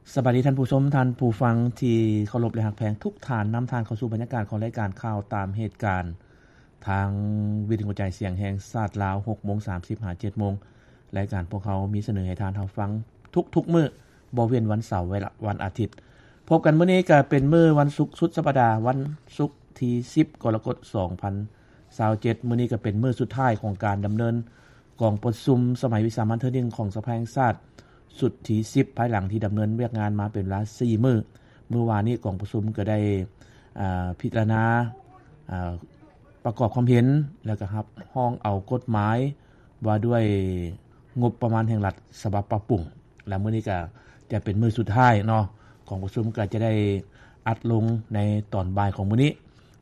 ສະບາຍດີທ່ານຜູ້ຊົມ, ທ່ານຜູ້ຟັງທີ່ເຄົາລົບ ແລະ ຮັກແພງທຸກທ່ານ. ນຳທ່ານເຂົ້າສູ່ບັນຍາກາດຂອງລາຍການຂ່າວຕາມເຫດການ ທາງວິທຍຸກະຈາຍສຽງແຫ່ງຊາດລາວ, ຫົກໂມງສາມສິບ ຫາ ເຈັດໂມງ. ລາຍການພວກເຮົາມີສະເໜີໃຫ້ທ່ານຮັບຟັງທຸກໆມື້, ບໍ່ເວັ້ນວັນເສົາ ແລະ ວັນອາທິດ. ພົບກັນມື້ນີ້ກໍເປັນມື້ວັນສຸກສຸດສັບປະດາ, ວັນສຸກທີສິບ ກໍລະກົດ ສອງພັນຊາວເຈັດ. ມື້ນີ້ກໍເປັນມື້ສຸດທ້າຍຂອງການດຳເນີນກອງປະຊຸມສະໄໝວິສາມັນເທື່ອໜຶ່ງຂອງສະພາແຫ່ງຊາດ ຊຸດທີສິບ ພາຍຫຼັງທີ່ດຳເນີນວຽກງານມາເປັນເວລາສີ່ມື້. ມື້ວານນີ້ກອງປະຊຸມກໍໄດ້ ອາ ພິຈາລະນາ ອາ ປະກອບຄວາມເຫັນ ແລ້ວກໍຮັບຮອງເອົາກົດໝາຍວ່າດ້ວຍງົບປະມານແຫ່ງລັດສະບັບປັບປຸງ ແລະ ມື້ນີ້ກໍຈະເປັນມື້ສຸດທ້າຍເນາະ, ກອງປະຊຸມກໍຈະໄດ້ອັດລົງໃນຕອນບ່າຍຂອງມື້ນີ້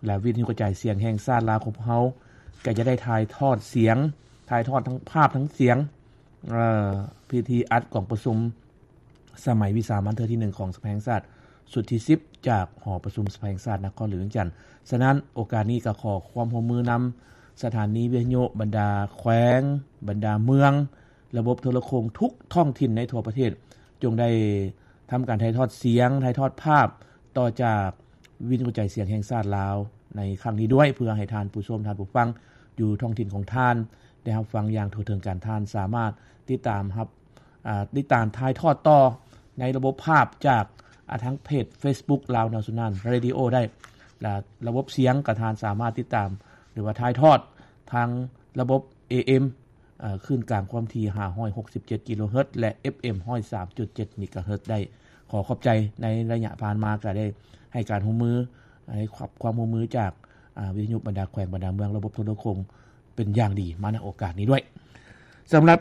ແລະ ວິທະຍຸກະຈາຍສຽງແຫ່ງຊາດລາວຂອງພວກເຮົາກໍຈະໄດ້ຖ່າຍທອດສຽງ, ຖ່າຍທອດທັງພາບທັງສຽງ ເອີ ພິທີອັດກອງປະຊຸມສະໄໝວິສາມັນເທື່ອທີໜຶ່ງຂອງສະພາແຫ່ງຊາດ ຊຸດທີສິບ ຈາກຫໍປະຊຸມສະພາແຫ່ງຊາດນະຄອນຫຼວງວຽງຈັນ. ສະນັ້ນ ໂອກາດນີ້ກໍຂໍຄວາມຮ່ວມມືນຳສະຖານີວິທະຍຸ, ບັນດາແຂວງ, ບັນດາເມືອງ, ລະບົບໂທລະໂຄ່ງທຸກທ້ອງຖິ່ນໃນທົ່ວປະເທດ ຈົ່ງໄດ້ທຳການຖ່າຍທອດສຽງ, ຖ່າຍທອດພາບຕໍ່ຈາກ ວິທະຍຸກະຈາຍສຽງແຫ່ງຊາດລາວໃນຄັ້ງນີ້ດ້ວຍ ເພື່ອໃຫ້ທ່ານຜູ້ຊົມ, ທ່ານຜູ້ຟັງຢູ່ທ້ອງຖິ່ນຂອງທ່ານໄດ້ຮັບຟັງຢ່າງທົ່ວເຖິງກັນ. ທ່ານສາມາດຕິດຕາມຮັບ ອາ ຕິດຕາມຖ່າຍທອດຕໍ່ໃນລະບົບພາບຈາກ ອາ ທາງເພຈເຟສບຸກ Lao National Radio ໄດ້ ແລະ ລະບົບສຽງກໍທ່ານສາມາດຕິດຕາມ ຫຼືວ່າຖ່າຍທອດທາງລະບົບ ເອເອັມ ເອີ ຄື້ນກາງຄວາມຖີ່ ຫ້າຮ້ອຍຫົກສິບເຈັດ ກິໂລເຮີດ ແລະ ເອັຟເອັມ ຮ້ອຍສາມຈຸດເຈັດ ເມກາເຮີດ ໄດ້. ຂໍຂອບໃຈໃນໄລຍະຜ່ານມາ ກໍໄດ້ໃຫ້ການຮ່ວມມື, ໃຫ້ຄວາມຮ່ວມມືຈາກ ອາ ວິທະຍຸບັນດາແຂວງ, ບັນດາເມືອງ, ລະບົບໂທລະໂຄ່ງເປັນຢ່າງດີມາໃນໂອກາດນີ້ດ້ວຍ. ສຳລັບ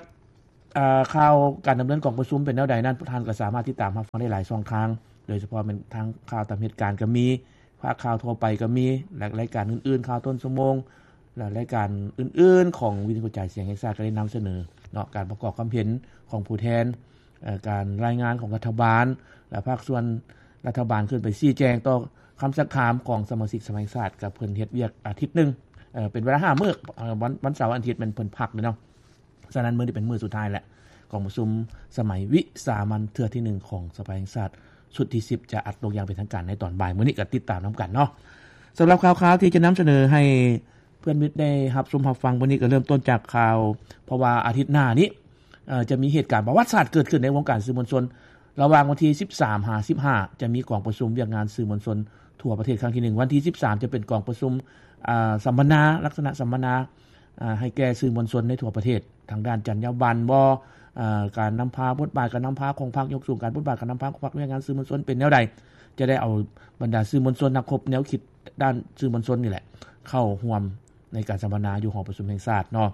ອາ ຂ່າວການດຳເນີນກອງປະຊຸມເປັນແນວໃດນັ້ນ ທ່ານກໍສາມາດຕິດຕາມຮັບຟັງໄດ້ຫຼາຍຊ່ອງທາງ, ໂດຍສະເພາະແມ່ນທາງຂ່າວຕາມເຫດການກໍມີ, ພາກຂ່າວທົ່ວໄປກໍມີ ແລະ ລາຍການອື່ນໆ ຂ່າວຕົ້ນຊົ່ວໂມງ ແລະ ລາຍການອື່ນໆຂອງວິທະຍຸກະຈາຍສຽງແຫ່ງຊາດ ກໍໄດ້ນຳສະເໜີເນາະ ການປະກອບຄວາມເຫັນຂອງຜູ້ແທນ, ເອີ ການລາຍງານຂອງລັດຖະບານ ແລະ ພາກສ່ວນລັດຖະບານຂຶ້ນໄປຊີ້ແຈງຕໍ່ຄຳຊັກຖາມຂອງສະມາຊິກສະພາແຫ່ງຊາດ ກໍເພິ່ນເຮັດວຽກອາທິດໜຶ່ງ, ເອີ ເປັນເວລາຫ້າມື້, ເອີ ວັນ ວັນເສົາວັນອາທິດແມ່ນເພິ່ນພັກເນາະ. ສະນັ້ນ ມື້ນີ້ເປັນມື້ສຸດທ້າຍແລ້ວ ກອງປະຊຸມສະໄໝວິສາມັນເທື່ອທີໜຶ່ງຂອງສະພາແຫ່ງຊາດ ຊຸດທີສິບ ຈະອັດລົງຢ່າງເປັນທາງການໃນຕອນບ່າຍມື້ນີ້ ກໍຕິດຕາມນຳກັນເນາະ. ສຳລັບຂ່າວຄາວທີ່ຈະນຳສະເໜີໃຫ້ເພື່ອນມິດໄດ້ຮັບຊົມຮັບຟັງມື້ນີ້ ກໍເລີ່ມຕົ້ນຈາກຂ່າວ ເພາະວ່າອາທິດໜ້ານີ້ ເອີ ຈະມີເຫດການປະຫວັດສາດເກີດຂຶ້ນໃນວົງການສື່ມວນຊົນ ລະຫວ່າງວັນທີສິບສາມ ຫາ ສິບຫ້າ ຈະມີກອງປະຊຸມວຽກງານສື່ມວນຊົນທົ່ວປະເທດຄັ້ງທີໜຶ່ງ, ວັນທີສິບສາມ ຈະເປັນກອງປະຊຸມ ອາ ສຳມະນາ, ລັກສະນະສຳມະນາ ອາ ໃຫ້ແກ່ສື່ມວນຊົນໃນທົ່ວປະເທດ ທາງດ້ານຈັນຍາບັນບໍ ອາ ການນຳພາ, ບົດບາດການນຳພາຂອງພັກ, ຍົກສູງການບົດບາດການນຳພາຂອງພັກ, ວຽກງານສື່ມວນຊົນເປັນແນວໃດ. ຈະໄດ້ເອົາບັນດາສື່ມວນຊົນ, ນັກຄົບແນວຄິດດ້ານສື່ມວນຊົນນີ້ແຫຼະ ເຂົ້າຮ່ວມໃນການສຳມະນາຢູ່ຫໍປະຊຸມແຫ່ງຊາດເນາະ,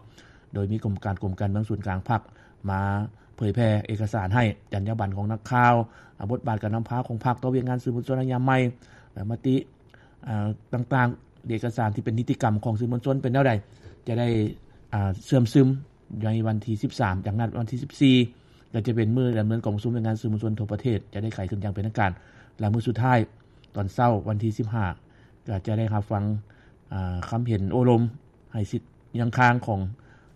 ໂດຍມີກົມການ ກົມການເມືອງສູນກາງພັກມາເຜີຍແຜ່ເອກະສານໃຫ້, ຈັນຍາບັນຂອງນັກຂ່າວ, ອາ ບົດບາດການນຳພາຂອງພັກຕໍ່ວຽກງານສື່ມວນຊົນໄລຍະໃໝ່, ແລະ ມະຕິ ອາ ຕ່າງໆ, ເອກະສານທີ່ເປັນນິຕິກຳຂອງສື່ມວນຊົນເປັນແນວໃດ ຈະໄດ້ ອາ ເຊື່ອມຊຶມໃນວັນທີສິບສາມ. ຈາກນັ້ນວັນທີສິບສີ່ ກໍຈະເປັນມື້ດຳເນີນກອງປະຊຸມວຽກງານສື່ມວນຊົນທົ່ວປະເທດ ຈະໄດ້ໄຂຂຶ້ນຢ່າງເປັນທາງການ ແລະ ມື້ສຸດທ້າຍຕອນເຊົ້າວັນທີສິບຫ້າ ກໍຈະໄດ້ຮັບຟັງ ອາ ຄຳເຫັນໂອ້ລົມໃຫ້ສິດຍັງຄ້າງຂອງ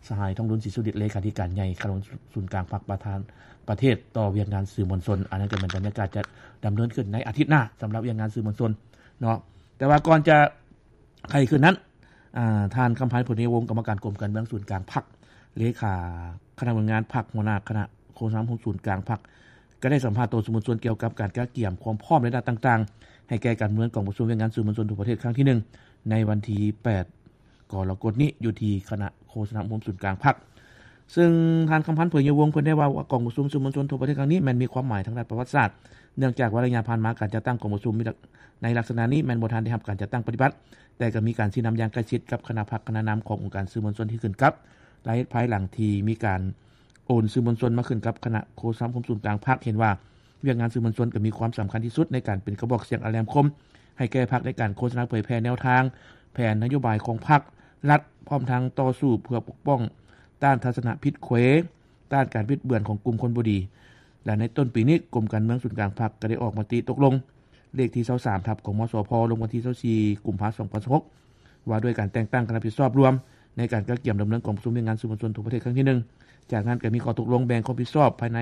ສະຫາຍ ທອງລຸນ ສີສຸລິດ ເລຂາທິການໃຫຍ່ຄະນະສູນກາງພັກ ປະທານປະເທດຕໍ່ວຽກງານສື່ມວນຊົນ. ອັນນັ້ນກໍແມ່ນບັນຍາກາດຈະດຳເນີນຂຶ້ນໃນອາທິດໜ້າ ສຳລັບວຽກງານສື່ມວນຊົນເນາະ. ແຕ່ວ່າກ່ອນຈະໄຂຂຶ້ນນັ້ນ ອາ ທ່ານ ຄຳພັນ ໂພນຍະວົງ ກຳມະການກົມການເມືອງສູນກາງພັກ, ເລຂາຄະນະເມືອງງານພັກ, ຫົວໜ້າຄະນະໂຄສະນາຄົມສູນກາງພັກ ກໍໄດ້ສຳພາດຕໍ່ສື່ມວນຊົນກ່ຽວກັບການກະກຽມຄວາມພ້ອມໃນດ້ານຕ່າງໆ ໃຫ້ແກ່ການດຳເນີນກອງປະຊຸມວຽກງານສື່ມວນຊົນທົ່ວປະເທດຄັ້ງທີໜຶ່ງ ໃນວັນທີແປດ ກໍລະກົດນີ້ ຢູ່ທີ່ຄະນະໂຄສະນາຄົມສູນກາງພັກ. ເຊິ່ງທ່ານ ຄຳພັນ ໂພນຍະວົງ ເພິ່ນໄດ້ເວົ້າວ່າ ກອງປະຊຸມສື່ມວນຊົນທົ່ວປະເທດຄັ້ງນີ້ແມ່ນມີຄວາມໝາຍທາງດ້ານປະຫວັດສາດ, ເນື່ອງຈາກວ່າໄລຍະຜ່ານມາການຈັດຕັ້ງກອງປະຊຸມໃນລັກສະນະນີ້ແມ່ນບໍ່ທັນໄດ້ຮັບການຈັດຕັ້ງປະຕິບັດ, ແຕ່ກໍມີການຊີ້ນຳຢ່າງໃກ້ຊິດກັບຄະນະພັກຄະນະນຳຂອງອົງການສື່ມວນຊົນທີ່ຂຶ້ນກັບ ລະເຮັດພາຍຫຼັງທີ່ມີການ ໂອນສື່ມວນຊົນມາຂຶ້ນກັບຄະນະໂຄສະນາຄົມສູນກາງພັກ ເຫັນວ່າວຽກງານສື່ມວນຊົນກໍມີຄວາມສຳຄັນທີ່ສຸດໃນການເປັນກະບອກສຽງອັນແຫຼມຄົມໃຫ້ແກ່ພັກ ໃນການໂຄສະນາເຜີຍແຜ່ແນວທາງ, ແຜນນະໂຍບາຍຂອງພັກລັດ, ພ້ອມທັງຕໍ່ສູ້ເພື່ອປົກປ້ອງຕ້ານທັດສະນະຜິດເຂວ, ຕ້ານການບິດເບືອນຂອງກຸ່ມຄົນບໍ່ດີ. ແລະ ໃນຕົ້ນປີນີ້, ກົມການເມືອງສູນກາງພັກກໍໄດ້ອອກມະຕິຕົກລົງ ເລກທີຊາວສາມ ທັບ ກມສພ ລົງວັນທີຊາວສີ່ ກຸມພາ ສອງພັນຊາວຫົກ ວ່າດ້ວຍການແຕ່ງຕັ້ງຄະນະຜິດຊອບລວມໃນການກະກຽມດຳເນີນກອງປະຊຸມວຽກງານສື່ມວນຊົນທົ່ວປະເທດຄັ້ງທີໜຶ່ງ. ຈາກນັ້ນກໍມີຂໍ້ຕົກລົງແບ່ງຄວາມຜິດຊອບພາຍໃນ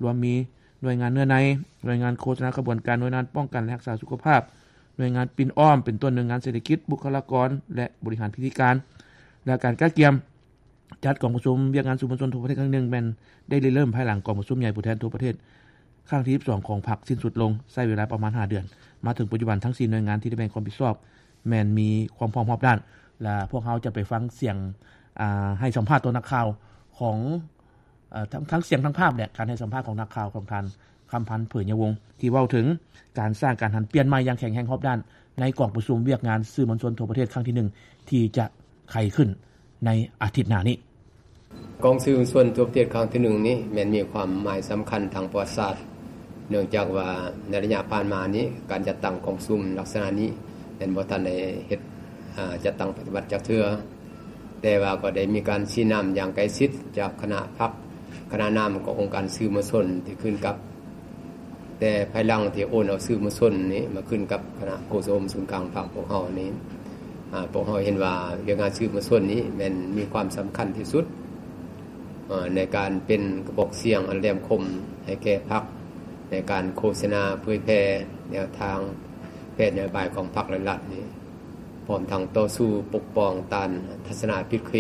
ລວມມີ ໜ່ວຍງານເນື້ອໃນ, ໜ່ວຍງານໂຄສະນາຂະບວນການ, ໜ່ວຍງານປ້ອງກັນ ແລະ ຮັກສາສຸຂະພາບ, ໜ່ວຍງານປິ່ນອ້ອມ ເປັນຕົ້ນໜ່ວຍງານເສດຖະກິດ, ບຸກຄະລາກອນ ແລະ ບໍລິຫານພິທີການ ແລະ ການກະກຽມ ຈັດກອງປະຊຸມວຽກງານສື່ມວນຊົນທົ່ວປະເທດຄັ້ງທີໜຶ່ງ ແມ່ນໄດ້ລິເລີ່ມພາຍຫຼັງກອງປະຊຸມໃຫຍ່ຜູ້ແທນທົ່ວປະເທດຄັ້ງທີສິບສອງຂອງພັກສິ້ນສຸດລົງ, ໃຊ້ເວລາປະມານຫ້າເດືອນ. ມາເຖິງປັດຈຸບັນ ທັງສີ່ໜ່ວຍງານທີ່ໄດ້ແບ່ງຄວາມຜິດຊອບ ແມ່ນມີຄວາມພ້ອມຮອບດ້ານ ແລະ ພວກເຮົາຈະໄປຟັງສຽງ ອາ ໃຫ້ສຳພາດຕໍ່ນັກຂ່າວຂອງ ເອີ ທັງ ທັງສຽງທັງພາບແຫຼະ ການໃຫ້ສຳພາດຂອງນັກຂ່າວຂອງທ່ານ ຄຳພັນ ເຜີຍຍະວົງ ທີ່ເວົ້າເຖິງການສ້າງການຫັນປ່ຽນໃໝ່ຢ່າງແຂງແຮງຮອບດ້ານ ໃນກອງປະຊຸມວຽກງານສື່ມວນຊົນທົ່ວປະເທດຄັ້ງທີໜຶ່ງ ທີ່ຈະໄຂຂຶ້ນໃນອາທິດໜ້ານີ້. ກອງສື່ມວນຊົນທົ່ວປະເທດຄັ້ງທີໜຶ່ງນີ້ ແມ່ນມີຄວາມໝາຍສຳຄັນທາງປະຫວັດສາດ ເນື່ອງຈາກວ່າໃນໄລຍະຜ່ານມານີ້ ການຈັດຕັ້ງກອງປະຊຸມລັກສະນະນີ້ ແມ່ນບໍ່ທັນໄດ້ເຮັດ ອາ ຈັດຕັ້ງປະຕິບັດຈັກເທື່ອ. ແຕ່ວ່າກໍໄດ້ມີການຊີ້ນຳຢ່າງໃກ້ຊິດຈາກຄະນະພັກ, ຄະນະນຳຂອງອົງການສື່ມວນຊົນທີ່ຂຶ້ນກັບ, ແຕ່ພາຍຫຼັງທີ່ໂອນເອົາສື່ມວນຊົນນີ້ມາຂຶ້ນກັບຄະນະໂຄສະໂອມສູນກາງພັກພວກເຮົານີ້, ອາ, ພວກເຮົາເຫັນວ່າວຽກງານສື່ມວນຊົນນີ້ແມ່ນມີຄວາມສຳຄັນທີ່ສຸດ, ອາ, ໃນການເປັນກະບອກສຽງອັນແຫຼມຄົມໃຫ້ແກ່ພັກ, ໃນການໂຄສະນາເຜີຍແຜ່ແນວທາງແຜນນະໂຍບາຍຂອງພັກ ແລະ ລັດນີ້. ພ້ອມທັງຕໍ່ສູ້ປົກປ້ອງຕ້ານທັດສະນະຜິດເຄ,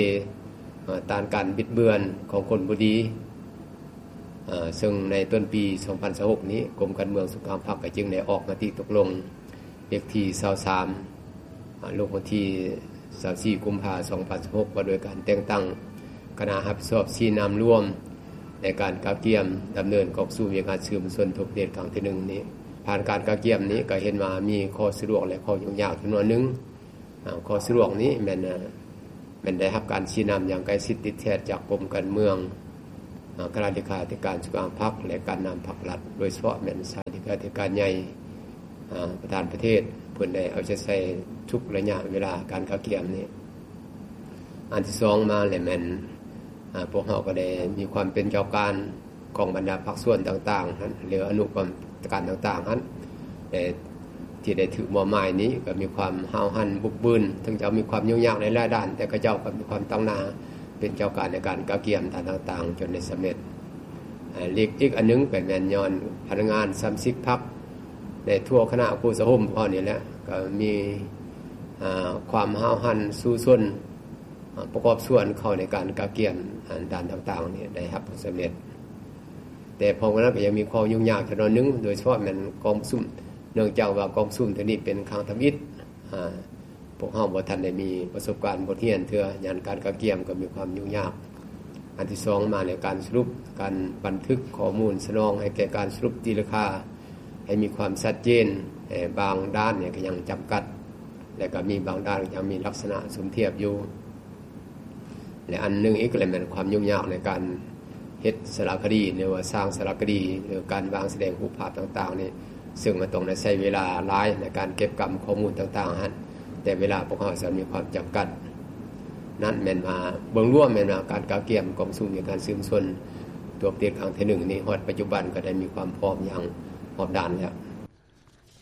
ເອີ, ຕ້ານການບິດເບືອນຂອງຄົນບໍ່ດີ, ເອີ, ເຊິ່ງໃນຕົ້ນປີສອງພັນຊາວຫົກນີ້ ກົມການເມືອງສູນກາງພັກກໍຈຶ່ງໄດ້ອອກມະຕິຕົກລົງເລກທີຊາວສາມ ອາ, ລົງວັນທີຊາວສີ່ ກຸມພາ ສອງພັນຊາວຫົກ ວ່າດ້ວຍການແຕ່ງຕັ້ງຄະນະຮັບຜິດຊອບຊີ້ນຳລວມ ໃນການກະກຽມດຳເນີນກອງປະຊຸມວຽກງານສື່ມວນຊົນທົ່ວປະເທດຄັ້ງທີໜຶ່ງນີ້. ຜ່ານການກະກຽມນີ້ກໍເຫັນວ່າມີຂໍ້ສະດວກ ແລະ ຂໍ້ຫຍຸ້ງຍາກຈຳນວນໜຶ່ງ. ອາ, ຂໍ້ສະດວກນີ້ແມ່ນ, ແມ່ນໄດ້ຮັບການຊີ້ນຳຢ່າງໃກ້ຊິດຕິດແທດຈາກກົມການເມືອງ, ອາ, ຄະນະເລຂາທິການສູນກາງພັກ ແລະ ການນຳພັກລັດ, ໂດຍສະເພາະແມ່ນສາຍເລຂາທິການໃຫຍ່, ອາ, ປະທານປະເທດ ເພິ່ນໄດ້ເອົາໃຈໃສ່ທຸກໄລຍະເວລາການກະກຽມນີ້. ອັນທີສອງມາແລ້ວແມ່ນ, ອາ, ພວກເຮົາກໍໄດ້ມີຄວາມເປັນເຈົ້າການຂອງບັນດາພາກສ່ວນຕ່າງໆຫັ້ນ ຫຼື ອະນຸກຳມະການຕ່າງໆຫັ້ນ, ແຕ່ທີ່ໄດ້ຖືກມອບໝາຍນີ້ກໍມີຄວາມຫ້າວຫັນບຸກບືນ, ເຖິງຈະມີຄວາມຫຍຸ້ງຍາກໃນຫຼາຍດ້ານ, ແຕ່ເຂົາເຈົ້າກໍມີຄວາມຕັ້ງໜ້າເປັນເຈົ້າການໃນການກະກຽມດ້ານຕ່າງໆ ຈົນໄດ້ສຳເລັດ. ອາ, ອີກ, ອີກອັນໜຶ່ງກໍແມ່ນຍ້ອນພະນັກງານສະມາຊິກພັກໃນທົ່ວຄະນະໂຄສະໂອມຂອງເຮົານີ້ແຫຼະ ກໍມີ, ອາ, ຄວາມຫ້າວຫັນສູ້ຊົນ ອາ, ປະກອບສ່ວນເຂົ້າໃນການກະກຽມ, ອາ, ດ້ານຕ່າງໆນີ້ໄດ້ຮັບຜົນສຳເລັດ. ແຕ່ພ້ອມກັນນັ້ນກໍຍັງມີຂໍ້ຫຍຸ້ງຍາກຈຳນວນໜຶ່ງ, ໂດຍສະເພາະແມ່ນກອງປະຊຸມ, ເນື່ອງຈາກວ່າກອງປະຊຸມເທື່ອນີ້ເປັນຄັ້ງທຳອິດ, ອາ, ພວກເຮົາບໍ່ທັນໄດ້ມີປະສົບການບົດຮຽນເທື່ອ, ຍານການກະກຽມກໍມີຄວາມຫຍຸ້ງຍາກ. ອັນທີສອງມາແລ້ວ ການສະຫຼຸບ, ການບັນທຶກຂໍ້ມູນສະໜອງໃຫ້ແກ່ການສະຫຼຸບຕີລາຄາ ໃຫ້ມີຄວາມຊັດເຈນ, ແຕ່ບາງດ້ານນີ້ກໍຍັງຈຳກັດ ແລະ ກໍມີບາງດ້ານຍັງມີລັກສະນະສົມທຽບຢູ່ ແລະ ອັນໜຶ່ງອີກກໍແມ່ນຄວາມຫຍຸ້ງຍາກໃນການເຮັດສາລະຄະດີ ຫຼືວ່າສ້າງສາລະຄະດີ ຫຼືການວາງສະແດງຮູບພາບຕ່າງໆນີ້ ເຊິ່ງມັນຕ້ອງໄດ້ໃຊ້ເວລາຫຼາຍໃນການເກັບກຳຂໍ້ມູນຕ່າງໆຫັ້ນ ແຕ່ເວລາພວກເຮົາຈະມີຄວາມຈຳກັດ. ນັ້ນແມ່ນວ່າເບິ່ງລວມແມ່ນວ່າການກະກຽມກອງປະຊຸມວຽກງານສື່ມວນຊົນທົ່ວປະເທດຄັ້ງທີໜຶ່ງນີ້ ຮອດປັດຈຸບັນກໍໄດ້ມີຄວາມພ້ອມຢ່າງຮອບດ້ານແລ້ວ.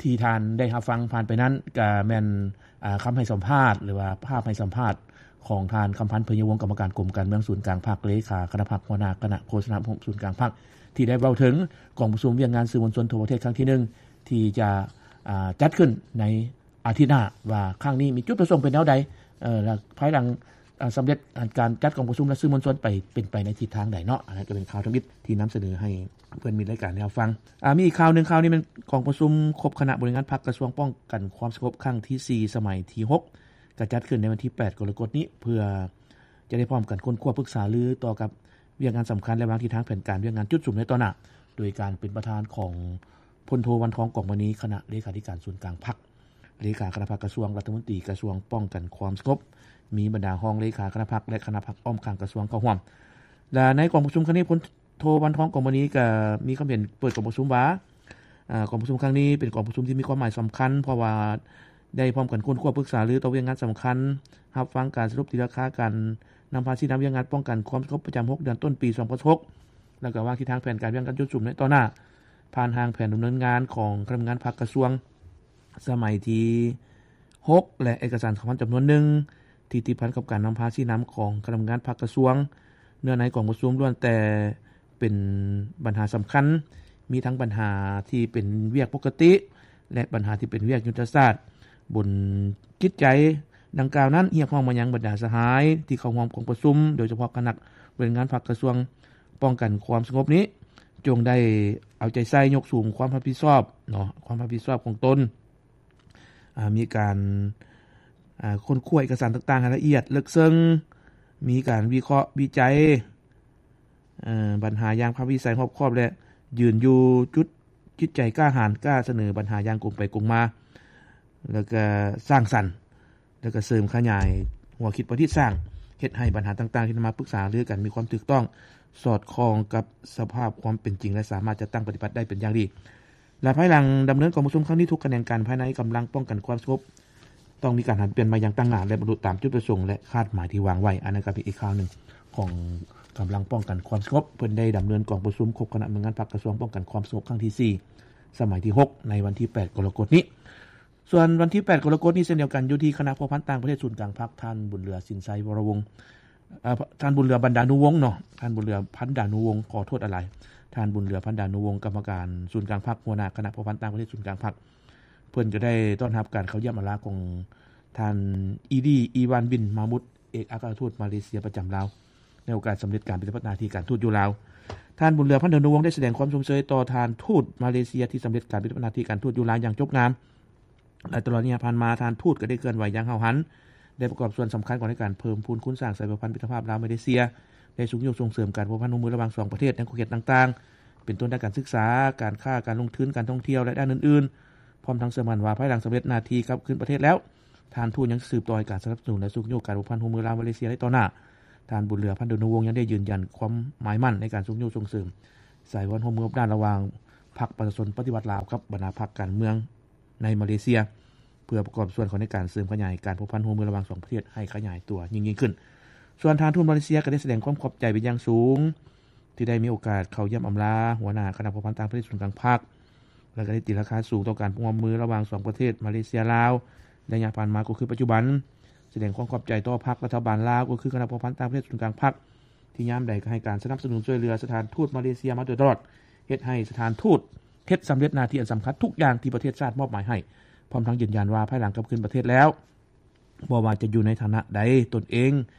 ທີ່ທ່ານໄດ້ຮັບຟັງຜ່ານໄປນັ້ນ ກະແມ່ນ, ອາ, ຄຳໃຫ້ສຳພາດ ຫຼືວ່າພາບໃຫ້ສຳພາດຂອງທ່ານ ຄຳພັນ ເຜີຍຍະວົງ ກຳມະການກົມການເມືອງສູນກາງພັກ, ເລຂາຄະນະພັກ, ຫົວໜ້າຄະນະໂຄສະນາອົບຮົມສູນກາງພັກ ທີ່ໄດ້ເວົ້າເຖິງກອງປະຊຸມວຽກງານສື່ມວນຊົນທົ່ວປະເທດຄັ້ງທີໜຶ່ງ ທີ່ຈະ, ອາ, ຈັດຂຶ້ນໃນອາທິດໜ້າ ວ່າຄັ້ງນີ້ມີຈຸດປະສົງເປັນແນວໃດ, ເອີ, ແລະ ພາຍຫຼັງ, ອາ, ສຳເລັດການຈັດກອງປະຊຸມ ແລະ ສື່ມວນຊົນໄປ, ເປັນໄປໃນທິດທາງໃດເນາະ. ອັນນັ້ນກໍເປັນຂ່າວທຳອິດທີ່ນຳສະເໜີໃຫ້ ເພື່ອນມິດລາຍການໄດ້ຮັບຟັງ. ອາ, ມີອີກຂ່າວໜຶ່ງ, ຂ່າວນີ້ແມ່ນກອງປະຊຸມຄົບຄະນະບໍລິຫານງານພັກກະຊວງປ້ອງກັນຄວາມສະຫງົບຄັ້ງທີສີ່ ສະໄໝທີຫົກ ກະຈັດຂຶ້ນໃນວັນທີແປດກໍລະກົດນີ້ ເພື່ອຈະໄດ້ພ້ອມກັນຄົ້ນຄວ້າປຶກສາລືຕໍ່ກັບວຽກງານສຳຄັນ ແລະ ວາງທິດທາງແຜນການວຽກງານຈຸດສຸມໃນຕໍ່ໜ້າ ໂດຍການເປັນປະທານຂອງ ພົນໂທ ວັນທອງ ກອງມະນີ ຄະນະເລຂາທິການສູນກາງພັກ, ເລຂາຄະນະພັກກະຊວງ, ລັດຖະມົນຕີກະຊວງປ້ອງກັນຄວາມສະຫງົບ, ມີບັນດາຮອງເລຂາຄະນະພັກ ແລະ ຄະນະພັກອ້ອມຂ້າງກະຊວງເຂົ້າຮ່ວມ. ແລະ ໃນກອງປະຊຸມຄັ້ງນີ້ ພົນໂທ ວັນທອງ ກອງມະນີ ກະມີຄຳເຫັນເປີດກອງປະຊຸມວ່າ, ອາ, ກອງປະຊຸມຄັ້ງນີ້ເປັນກອງປະຊຸມທີ່ມີຄວາມໝາຍສຳຄັນ ເພາະວ່າໄດ້ພ້ອມກັນຄົ້ນຄວ້າປຶກສາລືຕໍ່ວຽກງານສຳຄັນ, ຮັບຟັງການສະຫຼຸບຕີລາຄາການນຳພາຊີ້ນຳວຽກງານປ້ອງກັນຄວາມສະຫງົບປະຈຳຫົກເດືອນຕົ້ນປີສອງພັນຊາວຫົກ ແລ້ວກະວາງທິດທາງແຜນການວຽກງານຈຸດສຸມໃນຕໍ່ໜ້າ ຜ່ານຮ່າງແຜນດຳເນີນງານຂອງຄະນະກຳມະການພັກກະຊວງ ສະໄໝທີຫົກ ແລະ ເອກະສານສຳຄັນຈຳນວນໜຶ່ງ ທີ່ຕິດພັນກັບການນຳພາຊີ້ນຳຂອງຄະນະກຳມະການພັກກະຊວງ. ເນື້ອໃນກອງປະຊຸມລ້ວນແຕ່ເປັນບັນຫາສຳຄັນ, ມີທັງບັນຫາທີ່ເປັນວຽກປົກກະຕິ ແລະ ບັນຫາທີ່ເປັນວຽກຍຸດທະສາດ. ບົນຈິດໃຈດັ່ງກ່າວນັ້ນ ຮຽກຮ້ອງມາຍັງບັນດາສະຫາຍທີ່ເຂົ້າຮ່ວມກອງປະຊຸມ ໂດຍສະເພາະຄະນະບໍລິຫານງານພັກກະຊວງປ້ອງກັນຄວາມສະຫງົບນີ້ ຈົ່ງໄດ້ເອົາໃຈໃສ່ຍົກສູງຄວາມຮັບຜິດຊອບເນາະ ຄວາມຮັບຜິດຊອບຂອງຕົນ ອາ ມີການ ອາ ຄົ້ນຄວ້າເອກະສານຕ່າງໆໃຫ້ລະອຽດເລິກເຊິ່ງ, ມີການວິເຄາະວິໄຈ ເອີ ບັນຫາຢ່າງພາກວິໄສຮອບຄອບ ແລະ ຢືນຢູ່ຈຸດຈິດໃຈກ້າຫານ ກ້າສະເໜີບັນຫາຢ່າງກົງໄປກົງມາ ແລ້ວກະສ້າງສັນ ແລ້ວກະເສີມຂະຫຍາຍຫົວຄິດປະດິດສ້າງ ເຮັດໃຫ້ບັນຫາຕ່າງໆທີ່ນຳມາປຶກສາຫາລືກັນມີຄວາມຖືກຕ້ອງ ສອດຄ່ອງກັບສະພາບຄວາມເປັນຈິງ ແລະ ສາມາດຈັດຕັ້ງປະຕິບັດໄດ້ເປັນຢ່າງດີ. ແລະ ພາຍຫຼັງດຳເນີນກອງປະຊຸມຄັ້ງນີ້ ທຸກຂະແໜງການພາຍໃນກຳລັງປ້ອງກັນຄວາມສະຫງົບ ຕ້ອງມີການຫັນປ່ຽນໃໝ່ຢ່າງຕັ້ງໜ້າ ແລະ ບັນລຸຕາມຈຸດປະສົງ ແລະ ຄາດໝາຍທີ່ວາງໄວ້. ອັນນັ້ນກໍເປັນອີກຂ່າວໜຶ່ງຂອງກຳລັງປ້ອງກັນຄວາມສະຫງົບ ເພິ່ນໄດ້ດຳເນີນກອງປະຊຸມຄົບຄະນະໜ່ວຍງານພັກກະຊວງປ້ອງກັນຄວາມສະຫງົບຄັ້ງທີສີ່ ສະໄໝທີຫົກ ໃນວັນທີແປດ ກໍລະກົດນີ້. ສ່ວນວັນທີແປດ ກໍລະກົດນີ້ເຊັ່ນດຽວກັນ ຢູ່ທີ່ຄະນະພົວພັນຕ່າງປະເທດສູນກາງພັກ ທ່ານ ບຸນເຫຼືອ ສິນໄຊວໍລະວົງ ເອີ ທ່ານ ບຸນເຫຼືອ ບັນດານຸວົງເນາະ ທ່ານ ບຸນເຫຼືອ ພັນດານຸວົງ ຂໍໂທດຫຼາຍໆ ທ່ານ ບຸນເຫຼືອ ພັນດານຸວົງ ກຳມະການສູນກາງພັກ ຫົວໜ້າຄະນະພົວພັນຕ່າງປະເທດສູນກາງພັກ ເພິ່ນກໍໄດ້ຕ້ອນຮັບການເຂົ້າຢ້ຽມອາລາຂອງທ່ານ ອີດີ ອີວານ ບິນ ມາມຸດ ເອກອັກຄະລັດທູດມາເລເຊຍປະຈຳລາວ ໃນໂອກາດສຳເລັດການປະຕິບັດໜ້າທີ່ການທູດຢູ່ລາວ. ທ່ານ ບຸນເຫຼືອ ພັນດານຸວົງ ໄດ້ສະແດງຄວາມຊົມເຊີຍຕໍ່ທ່ານທູດມາເລເຊຍທີ່ສຳເລັດການປະຕິບັດໜ້າທີ່ການທູດຢູ່ລາວຢ່າງຈົບງາມ ແລະ ຕະຫຼອດໄລຍະຜ່ານມາ ທ່ານທູດກໍໄດ້ເຄື່ອນໄຫວຢ່າງຫ້າວຫັນ ໄດ້ປະກອບສ່ວນສຳຄັນເຂົ້າໃນການເພີ່ມພູນຄູນສ້າງສາຍພົວພັນມິດຕະພາບລາວ-ມາເລເຊຍ ໄດ້ຊຸກຍູ້ສົ່ງເສີມການພົວພັນຮ່ວມມືລະຫວ່າງສອງປະເທດໃນຂົງເຂດຕ່າງໆ ເປັນຕົ້ນດ້ານການສຶກສາ, ການຄ້າ, ການລົງທຶນ, ການທ່ອງທ່ຽວ ແລະ ດ້ານອື່ນໆ. ພ້ອມທັງເຊື່ອໝັ້ນວ່າ ພາຍຫຼັງສຳເລັດໜ້າທີ່ກັບຄືນປະເທດແລ້ວ, ທ່ານທູດຍັງຈະສືບຕໍ່ໃຫ້ການສະໜັບສະໜູນ ແລະ ຊຸກຍູ້ການພົວພັນຮ່ວມມືລາວ-ມາເລເຊຍໃນຕໍ່ໜ້າ. ທ່ານ ບຸນເຫຼືອ ພັນດານຸວົງ ຍັງໄດ້ຢືນຢັນຄວາມໝາຍໝັ້ນໃນການຊຸກຍູ້ສົ່ງເສີມສາຍພັນຮ່ວມມືຮອບດ້ານລະຫວ່າງພັກປະຊາຊົນປະຕິວັດລາວກັບບັນດາພັກການເມືອງໃນມາເລເຊຍ ເພື່ອປະກອບສ່ວນເຂົ້າໃນການເສີມຂະຫຍາຍການພົວພັນຮ່ວມມືລະຫວ່າງສອງປະເທດໃຫ້ຂະຫຍາຍຕົວຍິ່ງໆຂຶ້ນ. ສ່ວນທ່ານທູດມາເລເຊຍກໍໄດ້ສະແດງຄວາມຂອບໃຈເປັນຢ່າງສູງ ທີ່ໄດ້ມີໂອກາດເຂົ້າຢ້ຽມອຳລາຫົວໜ້າຄະນະພົວພັນຕ່າງປະເທດສູນກາງພັກ ແລະ ກໍໄດ້ຕີລາຄາສູງຕໍ່ການຮ່ວມມືລະຫວ່າງສອງປະເທດມາເລເຊຍ-ລາວ ໄລຍະຜ່ານມາກໍຄືປັດຈຸບັນ, ສະແດງຄວາມຂອບໃຈຕໍ່ພັກລັດຖະບານລາວ ກໍຄືຄະນະພົວພັນຕ່າງປະເທດສູນກາງພັກ ທີ່ຍາມໃດກໍໃຫ້ການສະໜັບສະໜູນຊ່ວຍເຫຼືອສະຖານທູດມາເລເຊຍມາໂດຍຕະຫຼອດ, ເຮັດໃຫ້ສະຖານທູດເຮັດສຳເລັດໜ້າທີ່ອັນສຳຄັນທຸກຢ່າງທີ່ປະເທດຊາດມອບໝາຍໃຫ້, ພ້ອມທັງຢືນຢັນວ່າພາຍຫຼັງກັບຄືນປະເທດແລ້ວ, ບໍ່ວ່າຈະຢູ່ໃນຖານະໃດ, ຕົນເອງ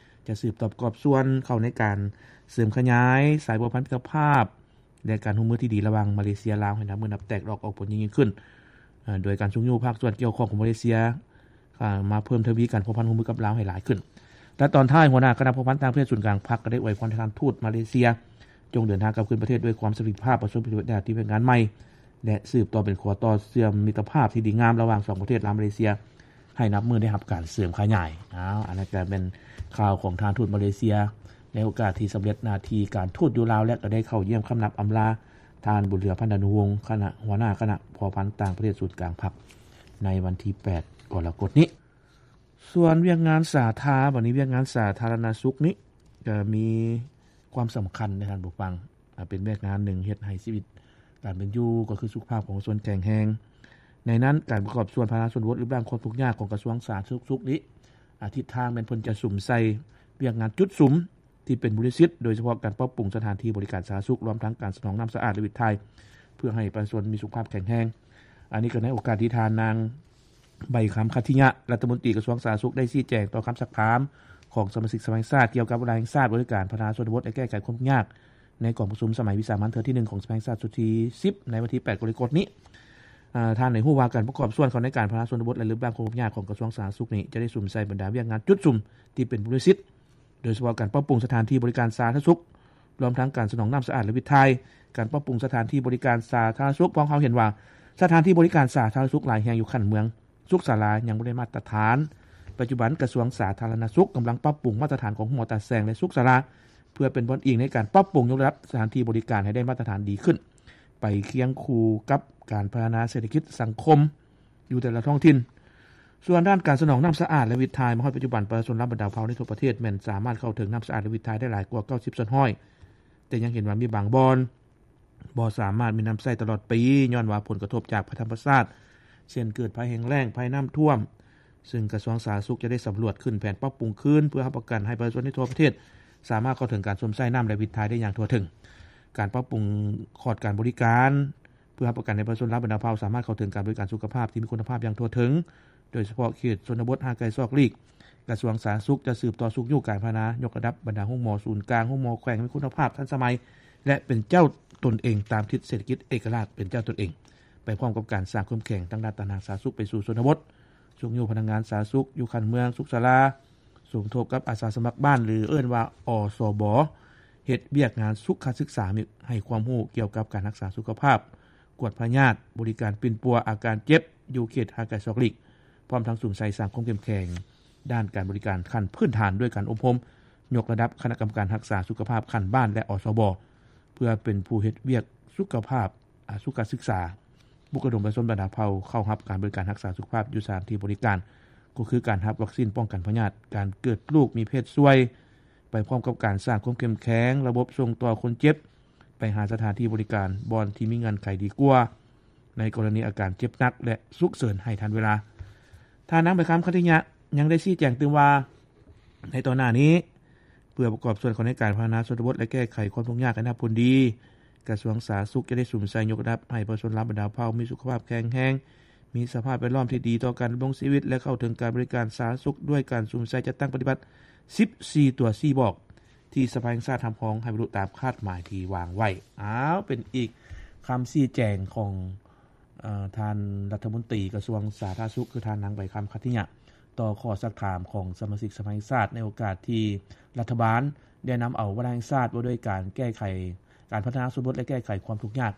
ຈະສືບຕໍ່ປະກອບສ່ວນເຂົ້າໃນການເສີມຂະຫຍາຍສາຍພົວພັນມິດຕະພາບ ແລະ ການຮ່ວມມືທີ່ດີລະຫວ່າງມາເລເຊຍ-ລາວ ໃຫ້ນັບມື້ນັບແຕກດອກອອກຜົນຍິ່ງໆຂຶ້ນ, ໂດຍການຊຸກຍູ້ພາກສ່ວນກ່ຽວຂ້ອງຂອງມາເລເຊຍ ມາເພີ່ມທະວີການພົວພັນຮ່ວມມືກັບລາວໃຫ້ຫຼາຍຂຶ້ນ. ແລະ ຕອນທ້າຍ, ຫົວໜ້າຄະນະພົວພັນຕ່າງປະເທດສູນກາງພັກ ກໍໄດ້ອວຍພອນໃຫ້ທ່ານທູດມາເລເຊຍ ຈົ່ງເດີນທາງກັບຄືນປະເທດດ້ວຍຄວາມສຳເລັດພາບ, ປະສົບຜົນສຳເລັດໃນທີ່ວຽກງານໃໝ່ ແລະ ສືບຕໍ່ເປັນຂົວຕໍ່ເຊື່ອມມິດຕະພາບທີ່ດີງາມລະຫວ່າງສອງປະເທດລາວ-ມາເລເຊຍ ໃຫ້ນັບມື້ໄດ້ຮັບການເສີມຂະຫຍາຍ. ອ້າວ ອັນນັ້ນກໍແມ່ນຂ່າວຂອງສະຖານທູດມາເລເຊຍ ໃນໂອກາດທີ່ສຳເລັດໜ້າທີ່ການທູດຢູ່ລາວ ແລະ ກໍໄດ້ເຂົ້າຢ້ຽມຄຳນັບອຳລາທ່ານ ບຸນເຫຼືອ ພັນດານຸວົງ ຄະນະ ຫົວໜ້າຄະນະພົວພັນຕ່າງປະເທດສູນກາງພັກ ໃນວັນທີແປດ ກໍລະກົດນີ້. ສ່ວນວຽກງານສາທາ ບັດນີ້ວຽກງານສາທາລະນະສຸກນີ້ ກໍມີຄວາມສຳຄັນໃນທ່ານຜູ້ຟັງ, ເປັນວຽກງານໜຶ່ງເຮັດໃຫ້ຊີວິດການເປັນຢູ່ ກໍຄືສຸຂະພາບຂອງປະຊາຊົນແຂງແຮງ. ໃນນັ້ນ, ການປະກອບສ່ວນພັດທະນາຊົນນະບົດ ແລະ ເລື່ອງການຄວບຄຸມຍາກຂອງກະຊວງສາທາລະນະສຸກນີ້ ອາ ທິດທາງແມ່ນເພິ່ນຈະສຸມໃສ່ວຽກງານຈຸດສຸມ ທີ່ເປັນບູລິສິດ, ໂດຍສະເພາະການປັບປຸງສະຖານທີ່ບໍລິການສາທາລະນະສຸກ, ລວມທັງການສະໜອງນ້ຳສະອາດ ແລະ ວິດຖ່າຍ ເພື່ອໃຫ້ປະຊາຊົນມີສຸຂະພາບແຂງແຮງ. ອັນນີ້ກໍໃນໂອກາດທີ່ທ່ານນາງ ໃບຄຳ ຂັດທິຍະ ລັດຖະມົນຕີກະຊວງສາທາລະນະສຸກ ໄດ້ຊີ້ແຈງຕໍ່ຄຳຊັກຖາມຂອງສະມາຊິກສະພາແຫ່ງຊາດ ກ່ຽວກັບວາລະແຫ່ງຊາດບໍລິການພັດທະນາຊົນນະບົດ ແລະ ແກ້ໄຂຄວາມທຸກຍາກ ໃນກອງປະຊຸມສະໄໝວິສາມັນເທື່ອທີໜຶ່ງຂອງສະພາແຫ່ງຊາດຊຸດທີສິບ ໃນວັນທີແປດ ກໍລະກົດນີ້. ອາ ທ່ານໄດ້ຮູ້ວ່າການປະກອບສ່ວນເຂົ້າໃນການພັດທະນາຊົນນະບົດ ແລະ ເລື່ອງການຄວບຄຸມຍາກຂອງກະຊວງສາທາລະນະສຸກນີ້ ຈະໄດ້ສຸມໃສ່ບັນດາວຽກງານຈຸດສຸມທີ່ເປັນບູລິສິດ, ໂດຍສະເພາະການປັບປຸງສະຖານທີ່ບໍລິການສາທາລະນະສຸກ, ລວມທັງການສະໜອງນ້ຳສະອາດ ແລະ ວິດຖ່າຍ, ການປັບປຸງສະຖານທີ່ບໍລິການສາທາລະນະສຸກ. ພວກເຮົາເຫັນວ່າສະຖານທີ່ບໍລິການສາທາລະນະສຸກຫຼາຍແຫ່ງຢູ່ຂັ້ນເມືອງ ສຸກສາລາຍັງບໍ່ໄດ້ມາດຕະຖານ. ປັດຈຸບັນກະຊວງສາທາລະນະສຸກກຳລັງປັບປຸງມາດຕະຖານຂອງໂຮງໝໍຕາແສງ ແລະ ສຸກສາລາ ເພື່ອເປັນບ່ອນອີງໃນການປັບປຸງຍົກລະດັບສະຖານທີ່ບໍລິການໃຫ້ໄດ້ມາດຕະຖານດີຂຶ້ນ ໄປຄຽງຄູ່ກັບການພັດທະນາເສດຖະກິດສັງຄົມຢູ່ແຕ່ລະທ້ອງຖິ່ນ. ສ່ວນດ້ານການສະໜອງນ້ຳສະອາດ ແລະ ວິດຖ່າຍ, ມາຮອດປັດຈຸບັນ ປະຊາຊົນລາວບັນດາເຜົ່າໃນທົ່ວປະເທດແມ່ນສາມາດເຂົ້າເຖິງນ້ຳສະອາດ ແລະ ວິດຖ່າຍໄດ້ຫຼາຍກວ່າເກົ້າສິບສ່ວນຮ້ອຍ, ແຕ່ຍັງເຫັນວ່າມີບາງບ່ອນ ບໍ່ສາມາດມີນ້ຳໃຊ້ຕະຫຼອດປີ ຍ້ອນວ່າຜົນກະທົບຈາກໄພທຳມະຊາດ ເຊັ່ນ ເກີດໄພແຫ້ງແລ້ງ, ໄພນ້ຳຖ້ວມ, ຊຶ່ງກະຊວງສາທາລະນະສຸກຈະໄດ້ສຳຫຼວດຂຶ້ນແຜນປັບປຸງຄືນ ເພື່ອຮັບປະກັນໃຫ້ປະຊາຊົນໃນທົ່ວປະເທດສາມາດເຂົ້າເຖິງການຊົມໃຊ້ນ້ຳ ແລະ ວິດຖ່າຍໄດ້ຢ່າງທົ່ວເຖິງ. ການປັບປຸງຂອດການບໍລິການ ເພື່ອຮັບປະກັນໃຫ້ປະຊາຊົນລາວບັນດາເຜົ່າສາມາດເຂົ້າເຖິງການບໍລິການສຸຂະພາບທີ່ມີຄຸນນະພາບຢ່າງທົ່ວເຖິງ, ໂດຍສະເພາະເຂດຊົນນະບົດຫ່າງໄກສອກຫຼີກ. ກະຊວງສາທາລະນະສຸກຈະສືບຕໍ່ຊຸກຍູ້ການພັດທະນາ, ຍົກລະດັບບັນດາໂຮງໝໍສູນກາງ, ໂຮງໝໍແຂວງໃຫ້ມີຄຸນນະພາບ, ທັນສະໄໝ ແລະ ເປັນເຈົ້າຕົນເອງຕາມທິດເສດຖະກິດເອກະລາດ, ເປັນເຈົ້າຕົນເອງ, ໄປພ້ອມກັບການສ້າງຄວາມເຂັ້ມແຂງທາງດ້ານການຮັກສາສຸກໄປສູ່ຊົນນະບົດ, ຊຸກຍູ້ພະນັກງານສາທາລະນະສຸກຢູ່ຂັ້ນເມືອງ, ສຸກສາລາ, ສົມທົບກັບອາສາສະໝັກບ້ານ ຫຼື ເອີ້ນວ່າ ອສບ ເຮັດວຽກງານສຸຂະສຶກສາ, ໃຫ້ຄວາມຮູ້ກ່ຽວກັບການຮັກສາສຸຂະພາບ, ກວດພະຍາດ, ບໍລິການປິ່ນປົວອາການເຈັບຢູ່ເຂດຫ່າງໄກສອກຫຼີກ, ພ້ອມທັງສຸມໃສ່ສ້າງຄວາມເຂັ້ມແຂງດ້ານການບໍລິການຂັ້ນພື້ນຖານດ້ວຍການອົບຮົມຍົກລະດັບຄະນະກຳມະການຮັກສາສຸຂະພາບຂັ້ນບ້ານ ແລະ ອສບ ເພື່ອເປັນຜູ້ເຮັດວຽກສຸຂະພາບ, ອາ, ສຸຂະສຶກສາ, ປຸກລະດົມປະຊາຊົນບັນດາເຜົ່າເຂົ້າຮັບການບໍລິການຮັກສາສຸຂະພາບຢູ່ສະຖານທີ່ບໍລິການ, ກໍຄືການຮັບວັກຊີນປ້ອງກັນພະຍາດ, ການເກີດລູກມີເພດຊ່ວຍ, ໄປພ້ອມກັບການສ້າງຄວາມເຂັ້ມແຂງລະບົບສົ່ງຕໍ່ຄົນເຈັບໄປຫາສະຖານທີ່ບໍລິການບ່ອນທີ່ມີເງື່ອນໄຂດີກວ່າ ໃນກໍລະນີອາການເຈັບໜັກ ແລະ ສຸກເສີນໃຫ້ທັນເວລາ. ທ່ານນາງ ໃບຄຳ ຂັດຕິຍະ ຍັງໄດ້ຊີ້ແຈງຕື່ມວ່າ ໃນຕໍ່ໜ້ານີ້ ເພື່ອປະກອບສ່ວນເຂົ້າໃນການພັດທະນາຊົນນະບົດ ແລະ ແກ້ໄຂຄວາມທຸກຍາກໃຫ້ນັບພົ້ນດີ, ກະຊວງສາທາລະນະສຸກຈະໄດ້ສຸມໃສ່ຍົກລະດັບໃຫ້ປະຊາຊົນລາວບັນດາເຜົ່າມີສຸຂະພາບແຂງແຮງ, ມີສະພາບແວດລ້ອມທີ່ດີຕໍ່ການດຳລົງຊີວິດ ແລະ ເຂົ້າເຖິງການບໍລິການສາທາລະນະສຸກດ້ວຍການສຸມໃສ່ຈັດຕັ້ງປະຕິບັດສິບສີ່ຕົວຊີ້ບອກ ທີ່ສະພາແຫ່ງຊາດຮັບຮອງໃຫ້ບັນລຸຕາມຄາດໝາຍທີ່ວາງໄວ້. ອ້າວ ເປັນອີກຄຳຊີ້ແຈງຂອງ ເອີ ທ່ານລັດຖະມົນຕີກະຊວງສາທາລະນະສຸກ ຄືທ່ານນາງ ໃບຄຳ ຂັດຕິຍະ ຕໍ່ຂໍ້ຊັກຖາມຂອງສະມາຊິກສະພາແຫ່ງຊາດ ໃນໂອກາດທີ່ລັດຖະບານໄດ້ນຳເອົາວາລະແຫ່ງຊາດວ່າດ້ວຍການແກ້ໄຂ ການພັດທະນາຊົນນະບົດ ແລະ ແກ້ໄຂຄວາມທຸກຍາກ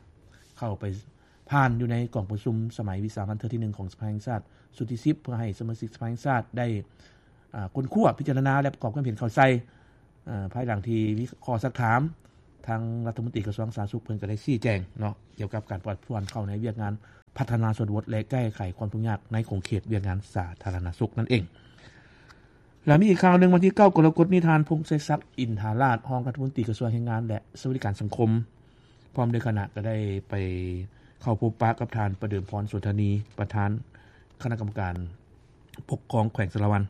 ເຂົ້າໄປຜ່ານຢູ່ໃນກອງປະຊຸມສະໄໝວິສາມັນເທື່ອທີໜຶ່ງຂອງສະພາແຫ່ງຊາດຊຸດທີສິບ ເພື່ອໃຫ້ສະມາຊິກສະພາແຫ່ງຊາດໄດ້ ອາ ຄົ້ນຄວ້າ, ພິຈາລະນາ ແລະ ປະກອບຄວາມເຫັນເຂົ້າໃສ່. ອາ ພາຍຫຼັງທີ່ມີຂໍ້ຊັກຖາມ, ທາງລັດຖະມົນຕີກະຊວງສາທາລະນະສຸກເພິ່ນກໍໄດ້ຊີ້ແຈງເນາະ ກ່ຽວກັບການປະກອບສ່ວນເຂົ້າໃນວຽກງານພັດທະນາຊົນນະບົດ ແລະ ແກ້ໄຂຄວາມທຸກຍາກໃນຂົງເຂດວຽກງານສາທາລະນະສຸກນັ້ນເອງ. ແລະ ມີອີກຂ່າວໜຶ່ງ, ວັນທີເກົ້າກໍລະກົດນີ້ ທ່ານ ພົງໄຊສັກ ອິນທາລາດ ຮອງລັດຖະມົນຕີກະຊວງແຮງງານ ແລະ ສະຫວັດດີການສັງຄົມ ພ້ອມດ້ວຍຄະນະ ກໍໄດ້ໄປເຂົ້າພົບປະກັບທ່ານ ປະເດີມພອນ ສົນທະນີ ປະທານຄະນະກຳມະການປົກຄອງແຂວງສາລະວັນ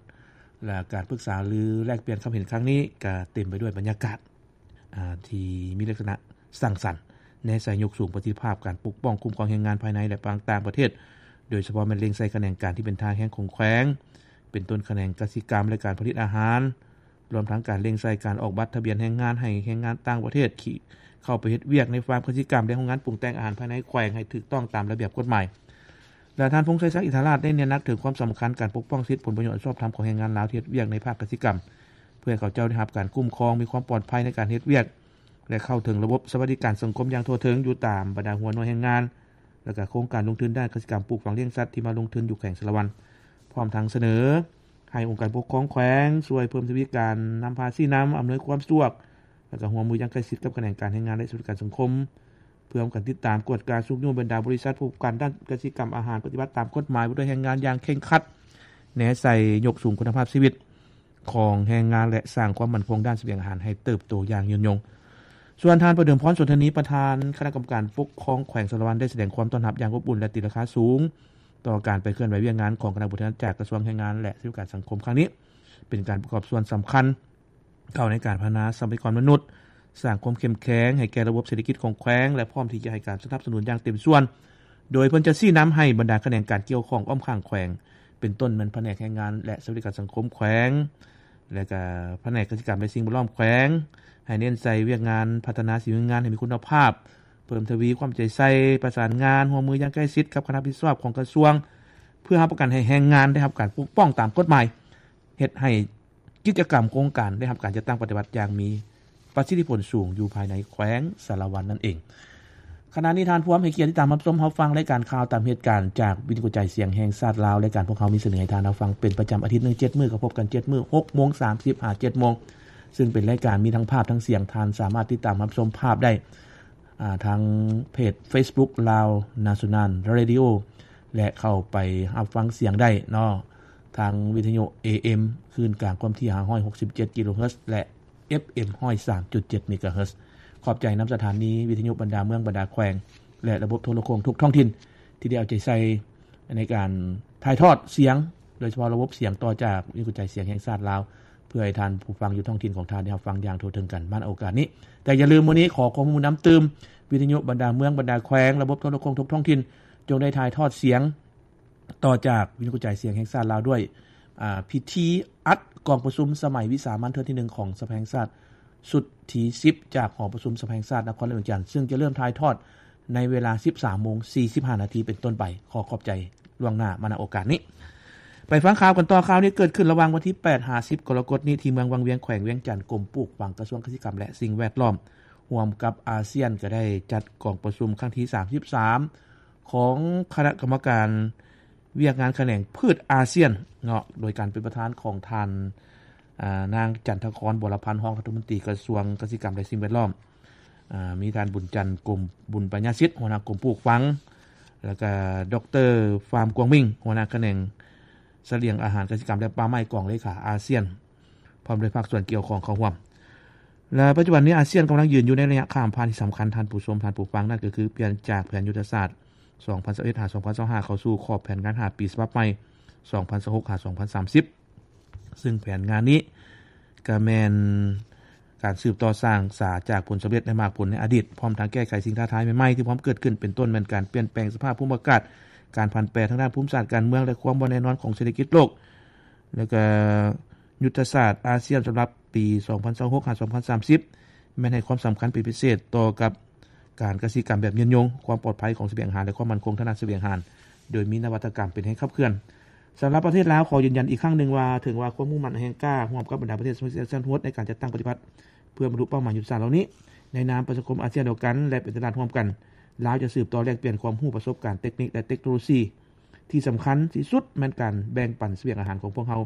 ແລະ ການປຶກສາຫຼືແລກປ່ຽນຄຳເຫັນຄັ້ງນີ້ ກໍເຕັມໄປດ້ວຍບັນຍາກາດ ອາ ທີ່ມີລັກສະນະສ້າງສັນ ແນໃສ່ຍົກສູງປະສິດທິພາບການປົກປ້ອງຄຸ້ມຄອງແຮງງານພາຍໃນ ແລະ ຕ່າງປະເທດ, ໂດຍສະເພາະແມ່ນເລັ່ງໃສ່ຂະແໜງການທີ່ເປັນທ່າແຮງຂອງແຂວງ ເປັນຕົ້ນຂະແໜງກະສິກຳ ແລະ ການຜະລິດອາຫານ, ລວມທັງການເລັ່ງໃສ່ການອອກບັດທະບຽນແຮງງານໃຫ້ແຮງງານຕ່າງປະເທດທີ່ເຂົ້າໄປເຮັດວຽກໃນຟາມກະສິກຳ ແລະ ໂຮງງານປຸງແຕ່ງອາຫານພາຍໃນແຂວງໃຫ້ຖືກຕ້ອງຕາມລະບຽບກົດໝາຍ. ແລະ ທ່ານ ພົງໄຊສັກ ອິນທາລາດ ໄດ້ເນັ້ນໜັກເຖິງຄວາມສຳຄັນການປົກປ້ອງສິດຜົນປະໂຫຍດອັນຊອບທຳຂອງແຮງງານລາວທີ່ເຮັດວຽກໃນພາກກະສິກຳ ເພື່ອໃຫ້ເຂົາເຈົ້າໄດ້ຮັບການຄຸ້ມຄອງ, ມີຄວາມປອດໄພໃນການເຮັດວຽກ ແລະ ເຂົ້າເຖິງລະບົບສະຫວັດດີການສັງຄົມຢ່າງທົ່ວເຖິງຢູ່ຕາມບັນດາຫົວໜ່ວຍແຮງງານ ແລະ ກະໂຄງການລົງທຶນດ້ານກະສິກຳ, ປູກຝັງ, ລ້ຽງສັດທີ່ມາລົງທຶນຢູ່ແຂວງສາລະວັນ, ພ້ອມທັງສະເໜີໃຫ້ອົງການປົກຄອງແຂວງຊ່ວຍເພີ່ມທະວີການນຳພາຊີ້ນຳ, ອຳນວຍຄວາມສະດວກ ແລະ ກະຮ່ວມມືຢ່າງໃກ້ຊິດກັບຂະແໜງການແຮງງານ ແລະ ສະຫວັດດີການສັງຄົມ ເພື່ອຮ່ວມກັນຕິດຕາມ, ກວດກາ, ຊຸກຍູ້ບັນດາບໍລິສັດຜູ້ປະກອບການດ້ານກະສິກຳອາຫານ ປະຕິບັດຕາມກົດໝາຍວ່າດ້ວຍແຮງງານຢ່າງເຄັ່ງຄັດ, ແນໃສ່ຍົກສູງຄຸນນະພາບຊີວິດຂອງແຮງງານ ແລະ ສ້າງຄວາມໝັ້ນຄົງດ້ານສະບຽງອາຫານໃຫ້ເຕີບໂຕຢ່າງຍືນຍົງ. ສ່ວນທ່ານ ປະເດີມພອນ ສົນທະນີ ປະທານຄະນະກຳມະການປົກຄອງແຂວງສາລະວັນ ໄດ້ສະແດງຄວາມຕ້ອນຮັບຢ່າງອົບອຸ່ນ ແລະ ຕີລາຄາສູງຕໍ່ການໄປເຄື່ອນໄຫວວຽກງານຂອງຄະນະຜູ້ແທນຈາກກະຊວງແຮງງານ ແລະ ສະຫວັດດີການສັງຄົມຄັ້ງນີ້ ເປັນການປະກອບສ່ວນສຳຄັນ ເຂົ້າໃນການພັດທະນາຊັບພະຍາກອນມະນຸດ, ສ້າງຄວາມເຂັ້ມແຂງໃຫ້ແກ່ລະບົບເສດຖະກິດຂອງແຂວງ ແລະ ພ້ອມທີ່ຈະໃຫ້ການສະໜັບສະໜູນຢ່າງເຕັມສ່ວນ, ໂດຍເພິ່ນຈະຊີ້ນຳໃຫ້ບັນດາຂະແໜງການກ່ຽວຂ້ອງອ້ອມຂ້າງແຂວງ ເປັນຕົ້ນແມ່ນພະແນກແຮງງານ ແລະ ສະຫວັດດີການສັງຄົມແຂວງ ແລະ ກະພະແນກກະສິກຳ ແລະ ສິ່ງແວດລ້ອມແຂວງ ໃຫ້ເນັ້ນໃສ່ວຽກງານພັດທະນາສີມືງານໃຫ້ມີຄຸນນະພາບ, ເພີ່ມທະວີຄວາມເອົາໃຈໃສ່, ປະສານງານ, ຮ່ວມມືຢ່າງໃກ້ຊິດກັບຄະນະຮັບຜິດຊອບຂອງກະຊວງ ເພື່ອຮັບປະກັນໃຫ້ແຮງງານໄດ້ຮັບການປົກປ້ອງຕາມກົດໝາຍ, ເຮັດໃຫ້ ກິດຈະກຳໂຄງການໄດ້ຮັບການຈັດຕັ້ງປະຕິບັດຢ່າງມີປະສິດທິຜົນສູງຢູ່ພາຍໃນແຂວງສາລະວັນນັ້ນເອງ. ຂະນະນີ້ທ່ານພວມໃຫ້ກຽດຕິດຕາມຮັບຊົມຮັບຟັງລາຍການຂ່າວຕາມເຫດການຈາກວິທະຍຸກະຈາຍສຽງແຫ່ງຊາດລາວ. ລາຍການພວກເຮົາມີສະເໜີໃຫ້ທ່ານຮັບຟັງເປັນປະຈຳອາທິດໜຶ່ງເຈັດມື້, ກໍພົບກັນເຈັດມື້, ຫົກໂມງສາມສິບຫາເຈັດໂມງ, ຊຶ່ງເປັນລາຍການມີທັງພາບທັງສຽງ. ທ່ານສາມາດຕິດຕາມຮັບຊົມພາບໄດ້ ອ່າ ທາງເພຈເຟສບຸກ Lao National Radio ແລະ ເຂົ້າໄປຮັບຟັງສຽງໄດ້ເນາະ ທາງວິທະຍຸ ເອເອັມ ຄື້ນກາງຄວາມຖີ່ ຫ້າຮ້ອຍຫົກສິບເຈັດ ກິໂລເຮີດ ແລະ ເອັຟເອັມ ຮ້ອຍສາມຈຸດເຈັດ ເມກາເຮີດ. ຂອບໃຈນຳສະຖານີວິທະຍຸບັນດາເມືອງບັນດາແຂວງ ແລະ ລະບົບໂທລະໂຄ່ງທຸກທ້ອງຖິ່ນ ທີ່ໄດ້ເອົາໃຈໃສ່ໃນການຖ່າຍທອດສຽງ ໂດຍສະເພາະລະບົບສຽງຕໍ່ຈາກວິທະຍຸກະຈາຍສຽງແຫ່ງຊາດລາວ ເ ພື່ອໃຫ້ທ່ານຜູ້ຟັງຢູ່ທ້ອງຖິ່ນຂອງທ່ານໄດ້ຮັບຟັງຢ່າງທົ່ວເຖິງກັນມາໃນໂອກາດນີ້. ແຕ່ຢ່າລືມ ມື້ນີ້ຂໍຄວາມຮ່ວມມືນຳຕື່ມ, ວິທະຍຸບັນດາເມືອງ, ບັນດາແຂວງ, ລະບົບໂທລະໂຄ່ງທຸກທ້ອງຖິ່ນ ຈົ່ງໄດ້ຖ່າຍທອດສຽງຕໍ່ຈາກວິທະຍຸກະຈາຍສຽງແຫ່ງຊາດລາວດ້ວຍ ອາ ພິທີອັດກອງປະຊຸມສະໄໝວິສາມັນເທື່ອທີໜຶ່ງຂອງສະພາແຫ່ງຊາດ ຊຸດທີສິບ ຈາກຫໍປະຊຸມສະພາແຫ່ງຊາດນະຄອນຫຼວງວຽງຈັນ ເຊິ່ງຈະເລີ່ມຖ່າຍທອດໃນເວລາ ສິບສາມໂມງສີ່ສິບຫ້ານາທີເປັນຕົ້ນໄປ. ຂໍຂອບໃຈລ່ວງໜ້າມາ ນຳໂອກາດນີ້. ໄປຟັງຂ່າວກັນຕໍ່. ຂ່າວນີ້ເກີດຂຶ້ນລະຫວ່າງວັນທີແປດຫາສິບກໍລະກົດນີ້ ທີ່ເມືອງວັງວຽງ ແຂວງວຽງຈັນ. ກົມປູກຝັງ ກະຊວງກະສິກຳ ແລະ ສິ່ງແວດລ້ອມ ຮ່ວມກັບອາຊຽນ ກໍໄດ້ຈັດກອງປະຊຸມຄັ້ງທີສາມສິບສາມ ຂອງຄະນະກຳມະການວຽກງານຂະແໜງພືດອາຊຽນເນາະ ໂດຍການເປັນປະທານຂອງທ່ານ ອາ ນາງ ຈັນທະຄອນ ບົວລະພັນ ຮອງລັດຖະມົນຕີກະຊວງກະສິກຳ ແລະ ສິ່ງແວດລ້ອມ, ອາ ມີທ່ານ ບຸນຈັນ ກົມບຸນປັນຍາສິດ ຫົວໜ້າກົມປູກຝັງ ແລ້ວກະ ດອກເຕີ ຟາມ ກວາງມິງ ຫົວໜ້າຂະແໜງສະຫຼຽງອາຫານກະສິກຳ ແລະ ປ່າໄມ້ ກອງເລຂາອາຊຽນ ພ້ອມດ້ວຍພາກສ່ວນກ່ຽວຂ້ອງເຂົ້າຮ່ວມ. ແລະ ປັດຈຸບັນນີ້ອາຊຽນກຳລັງຢືນຢູ່ໃນໄລຍະຂ້າມຜ່ານທີ່ສຳຄັນ, ທ່ານຜູ້ຊົມ, ທ່ານຜູ້ຟັງ, ນັ້ນກໍຄືປ່ຽນຈາກແຜນຍຸດທະສາດສອງພັນຊາວເອັດຫາສອງພັນຊາວຫ້າ ເຂົ້າສູ່ຂອບແຜນງານຫ້າປີສະບັບໃໝ່ ສອງພັນຊາວຫົກຫາສອງພັນສາມສິບ ເຊິ່ງແຜນງານນີ້ກໍແມ່ນການສືບຕໍ່ສ້າງສາຈາກຜົນສຳເລັດ ແລະ ໝາກຜົນໃນອະດີດ, ພ້ອມທັງແກ້ໄຂສິ່ງທ້າທາຍໃໝ່ໆທີ່ພ້ອມເກີດຂຶ້ນ, ເປັນຕົ້ນແມ່ນການປ່ຽນແປງສະພາບພູມອາກາດ, ການຜັນແປທາງດ້ານພູມສາດການເມືອງ ແລະ ຄວາມບໍ່ແນ່ນອນຂອງເສດຖະກິດໂລກ. ແລ້ວກໍຍຸດທະສາດອາຊຽນສຳລັບປີສອງພັນຊາວຫົກຫາສອງພັນສາມສິບ ແມ່ນໃຫ້ຄວາມສຳຄັນເປັນພິເສດຕໍ່ກັບການກະສິກຳແບບຍືນຍົງ, ຄວາມປອດໄພຂອງສະບຽງອາຫານ ແລະ ຄວາມໝັ້ນຄົງທາງດ້ານສະບຽງອາຫານ ໂດຍມີນະວັດຕະກຳເປັນແຮງຂັບເຄື່ອນ. ສຳລັບປະເທດລາວ ຂໍຢືນຢັນອີກຄັ້ງໜຶ່ງວ່າ ເຖິງວ່າຄວາມມຸ່ງໝັ້ນແຫ່ງກ້າ ຮ່ວມກັບບັນດາປະເທດສະມາຊິກອາຊຽນ ໄດ້ການຈັດຕັ້ງປະຕິບັດເພື່ອບັນລຸເປົ້າໝາຍຍຸດທະສາດເຫຼົ່ານີ້. ໃນນາມປະຊາຄົມອາຊຽນດຽວກັນ ແລະ ເປັນຕະຫຼາດຮ່ວມກັນ, ລາວຈະສືບຕໍ່ແລກປ່ຽນຄວາມຮູ້ປະສົບການເຕັກນິກ ແລະ ເຕັກໂນໂລຊີ ທີ່ສຳຄັນທີ່ສຸດແມ່ນການແບ່ງປັນສະບຽງອາຫານຂອງພວກເຮົາ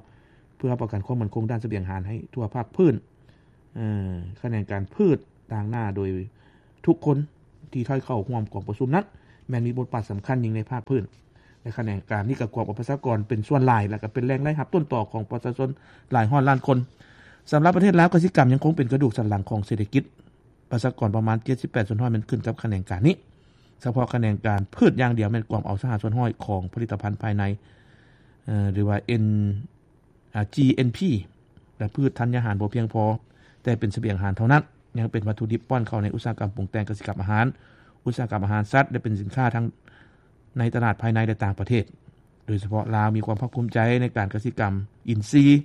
ເພື່ອຮັບປະກັນຄວາມໝັ້ນຄົງດ້ານສະບຽງອາຫານໃຫ້ທົ່ວພາກພື້ນ. ເອີ ຂະແໜງການພືດຕາງໜ້າໂດຍທຸກຄົນທີ່ໄດ້ເຂົ້າຮ່ວມກອງປະຊຸມນັ້ນ ແມ່ນມີບົດບາດສຳຄັນຍິ່ງໃນພາກພື້ນ ແລະ ຂະແໜງການນີ້ກໍກວມເອົາປະຊາກອນເປັນສ່ວນຫຼາຍ ແລະ ກໍເປັນແຫຼ່ງລາຍຮັບຕົ້ນຕໍຂອງປະຊາຊົນຫຼາຍຮ້ອຍລ້ານຄົນ. ສຳລັບປະເທດລາວ, ກະສິກຳຍັງຄົງເປັນກະດູກສັນຫຼັງຂອງເສດຖະກິດ. ປະຊາກອນປະມານເຈັດສິບແປດສ່ວນຮ້ອຍແມ່ນຂຶ້ນກັບຂະແໜງການນີ້. ສະເພາະຂະແໜງການພືດຢ່າງດຽວແມ່ນກວມເອົາຊາວຫ້າສ່ວນຮ້ອຍຂອງຜະລິດຕະພັນພາຍໃນ ເອີ ຫຼືວ່າ N ອ່າ GNP ແລະ ພືດທັນຍາຫານບໍ່ພຽງພໍແຕ່ເປັນສະບຽງອາຫານເທົ່ານັ້ນ, ຍັງເປັນວັດຖຸດິບປ້ອນເຂົ້າໃນອຸດສາຫະກຳປຸງແຕ່ງກະສິກຳອາຫານ, ອຸດສາຫະກຳອາຫານສັດ ແລະ ເປັນສິນຄ້າທັງໃນຕະຫຼາດພາຍໃນ ແລະ ຕ່າງປະເທດ. ໂດຍສະເພາະລາວມີຄວາມພາກພູມໃຈໃນການກະສິກຳອິນຊີ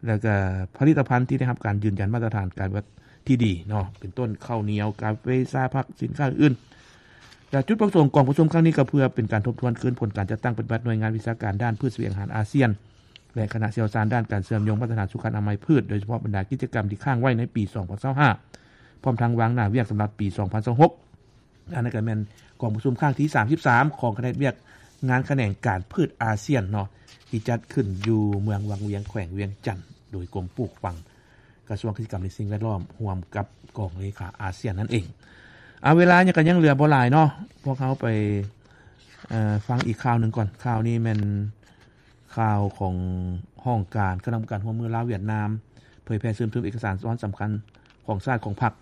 ແລ້ວກະຜະລິດຕະພັນທີ່ໄດ້ຮັບການຢືນຢັນມາດຕະຖານການປະຕິບັດທີ່ດີເນາະ ເປັນຕົ້ນເຂົ້າໜຽວ, ກາເຟ, ຊາ, ຜັກ, ສິນຄ້າອື່ນໆ. ແລະ ຈຸດປະສົງຂອງກອງປະຊຸມຄັ້ງນີ້ກໍເພື່ອເປັນການທົບທວນຄືນຜົນການຈັດຕັ້ງປະຕິບັດໜ່ວຍງານວິຊາການດ້ານພືດສະບຽງອາຫານອາຊຽນ ແລະ ຄະນະຊ່ຽວຊານດ້ານການເຊື່ອມໂຍງມາດຕະຖານສຸຂະອະນາໄມພືດ ໂດຍສະເພາະບັນດາກິດຈະກຳທີ່ຄ້າງໄວ້ໃນປີສອງພັນຊາວຫ້າ ພ້ອມທັງວາງໜ້າວຽກສຳລັບປີສອງພັນຊາວຫົກ. ອັນນັ້ນກໍແມ່ນກອງປະຊຸມຄັ້ງທີສາມສິບສາມ ຂອງຄະນະວຽກງານຂະແໜງການພືດອາຊຽນເນາະ ທີ່ຈັດຂຶ້ນຢູ່ເມືອງວັງວຽງ ແຂວງວຽງຈັນ ໂດຍກົມປູກຝັງ ກະຊວງກະສິກຳ ແລະ ສິ່ງແວດລ້ອມ ຮ່ວມກັບກອງເລຂາອາຊຽນນັ້ນເອງ. ເອົາ ເວລາຍັງ ກໍຍັງເຫຼືອບໍ່ຫຼາຍເນາະ ພວກເຮົາໄປ ເອີ ຟັງອີກຂ່າວໜຶ່ງກ່ອນ. ຂ່າວນີ້ແມ່ນ ຂ່າວຂອງຫ້ອງການຄະນະກຳມະການຮ່ວມມືລາວຫວຽດນາມ ເຜີຍແຜ່ເຊື່ອມຊຶມເອກະສານວັນສຳຄັນຂອງຊາດຂອງພັກ.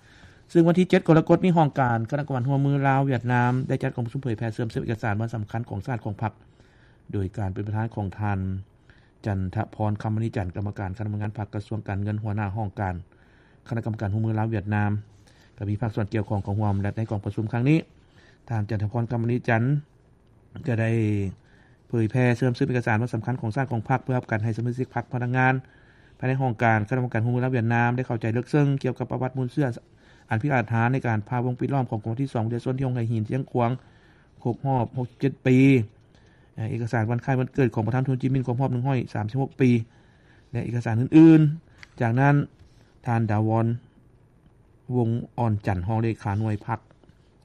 ເຊິ່ງວັນທີເຈັດກໍລະກົດນີ້ ຫ້ອງການຄະນະກຳມະການຮ່ວມມືລາວຫວຽດນາມ ໄດ້ຈັດກອງປະຊຸມເຜີຍແຜ່ເຊື່ອມຊຶມເອກະສານວັນສຳຄັນຂອງຊາດຂອງພັກ ໂດຍການເປັນປະທານຂອງທ່ານ ຈັນທະພອນ ຄຳມະນີຈັນ ກຳມະການຄະນະກຳມະການພັກ ກະຊວງການເງິນ ຫົວໜ້າຫ້ອງການຄະນະກຳມະການຮ່ວມມືລາວຫວຽດນາມ, ກໍມີພາກສ່ວນກ່ຽວຂ້ອງເຂົ້າຮ່ວມ ແລະ ໃນກອງປະຊຸມຄັ້ງນີ້ ທ່ານ ຈັນທະພອນ ຄຳມະນີຈັນ ກໍໄດ້ເຜີຍແຜ່ເຊື່ອມຊຶມເອກະສານວັນສຳຄັນຂອງຊາດຂອງພັກ ເພື່ອຮັບການໃຫ້ສະມາຊິກພັກ ພະນັກງານພາຍໃນຫ້ອງການຄະນະກຳມະການຮ່ວມມືລາວຫວຽດນາມ ໄດ້ເຂົ້າໃຈເລິກເຊິ່ງກ່ຽວກັບປະຫວັດມູນເຊື້ອອັນພິກາດຫານໃນການພາວົງປິດລ້ອມຂອງກອງປະຊຸມທີສອງ ປະຊາຊົນທີ່ໂຮງໄຮ່ຫີນຊຽງຂວາງ ຄົບຮອບຫົກສິບເຈັດປີ, ເອກະສານວັນຄ້າຍວັນເກີດຂອງປະທານໂທຈິນມິນ ຄົບຮອບໜຶ່ງຮ້ອຍສາມສິບຫົກປີ ແລະ ເອກະສານອື່ນໆ. ຈາກນັ້ນ ທ່ານ ດາວອນ ວົງອ່ອນຈັນ ຮອງເລຂາໜ່ວຍພັກ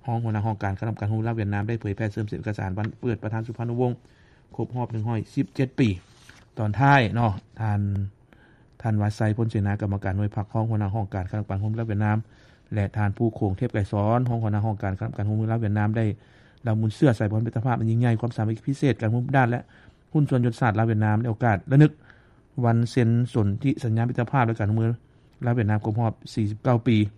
ຮອງຫົວໜ້າຫ້ອງການຄະນະກຳມະການຮ່ວມມືລາວຫວຽດນາມ ໄດ້ເຜີຍແຜ່ເຊີມຊຶມເອກະສານວັນເປີດປະທານສຸພານຸວົງ ຄົບຮອບໜຶ່ງຮ້ອຍສິບເຈັດປີ. ຕອນທ້າຍເນາະ ທ່ານ ທ່ານ ວາໄຊ ພົນເສນາ ກຳມະການໜ່ວຍພັກ ຮອງຫົວໜ້າຫ້ອງການຄະນະກຳມະການຮ່ວມມືລາວຫວຽດນາມ ແລະ ທ່ານ ພູໂຂງ ເທບໄກສອນ ຮອງຫົວໜ້າຫ້ອງການຄະນະກຳມະການຮ່ວມມືລາວຫວຽດນາມ ໄດ້ລຳບຸນເຊື້ອສາຍພັນມິດຕະພາບອັນຍິ່ງໃຫຍ່ ຄວາມສາມັກຄີພິເສດ ການຮ່ວມດ້ານ ແລະ ຫຸ້ນສ່ວນຍຸດທະສາດລາວຫວຽດນາມ ໃນໂອກາດລະນຶກວັນເຊັນສົນທິສັນຍາມິດຕະພາບ ແລະ ການຮ່ວມມືລາວຫວຽດນາມຄົບຮອບສີ່ສິບເກົ້າປີ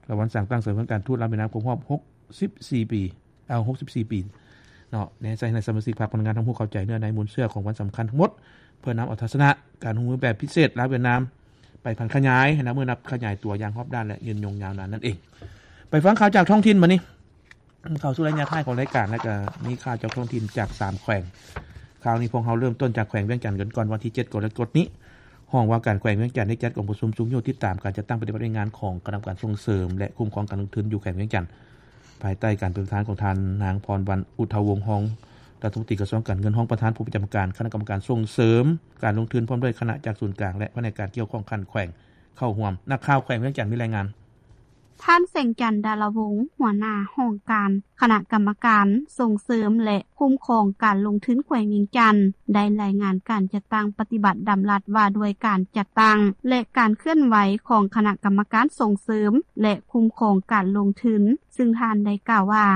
ແລະ ວັນສ້າງຕັ້ງສະເໜີການທູດລາວຫວຽດນາມຄົບຮອບຫົກສິບສີ່ປີ ເອົາ ຫົກສິບສີ່ປີເນາະ. ແນໃສ່ໃຫ້ສະມາຊິກພັກພະນັກງານທັງຜູ້ເຂົ້າໃຈເນື້ອໃນມູນເຊື້ອຂອງວັນສຳຄັນທັງໝົດ ເພື່ອນຳເອົາທັດສະນະການຮ່ວມມືແບບພິເສດລາວຫວຽດນາມ ໄປຜັນຂະຫຍາຍນະ ເມື່ອນັບຂະຫຍາຍຕົວຢ່າງຮອບດ້ານ ແລະ ຍືນຍົງຍາວນານນັ້ນເອງ. ໄປຟັງຂ່າວຈາກທ້ອງຖິ່ນບາດນີ້. ເຂົ້າສູ່ໄລຍະທ້າຍຂອງລາຍການ ແລ້ວກໍມີຂ່າວຈາກທ້ອງຖິ່ນຈາກສາມແຂວງ. ຄາວນີ້ພວກເຮົາເລີ່ມຕົ້ນຈາກແຂວງວຽງຈັນກັນກ່ອນ. ວັນທີເຈັດກໍລະກົດນີ້ ຫ້ອງວ່າການແຂວງວຽງຈັນໄດ້ຈັດກອງປະຊຸມຊຸກຍູ້ຕິດຕາມການຈັດຕັ້ງປະຕິບັດວຽກງານຂອງຄະນະກຳມະການສົ່ງເສີມ ແລະ ຄຸ້ມຄອງການລົງທຶນຢູ່ແຂວງວຽງຈັນ ພາຍໃຕ້ການເປັນປະທານຂອງທ່ານນາງ ພອນວັນ ອຸດທະວົງ ຮອງລັດຖະມົນຕີກະຊວງການເງິນ, ຮອງປະທານຜູ້ປະຈຳການຄະນະກຳມະການສົ່ງເສີມການລົງທຶນ ພ້ອມດ້ວຍຄະນະຈາກສູນກາງ ແລະ ພະແນກການກ່ຽວຂ້ອງຂັ້ນແຂວງເຂົ້າຮ່ວມ. ນັກຂ່າວແຂວງວຽງຈັນມີລາຍງານ. ທ່ານ ແສງຈັນ ດາລະວົງ ຫົວໜ້າຫ້ອງການຄະນະກຳມະການສົ່ງເສີມ ແລະ ຄຸ້ມຄອງການລົງທຶນແຂວງວຽງຈັນ ໄດ້ລາຍງານການຈັດຕັ້ງປະຕິບັດດຳລັດວ່າດ້ວຍການຈັດຕັ້ງ ແລະ ການເຄື່ອນໄຫວຂອງຄະນະກຳມະການສົ່ງເສີມ ແລະ ຄຸ້ມຄອງການລົງທຶນ, ຊຶ່ງທ່ານໄດ້ກ່າວວ່າ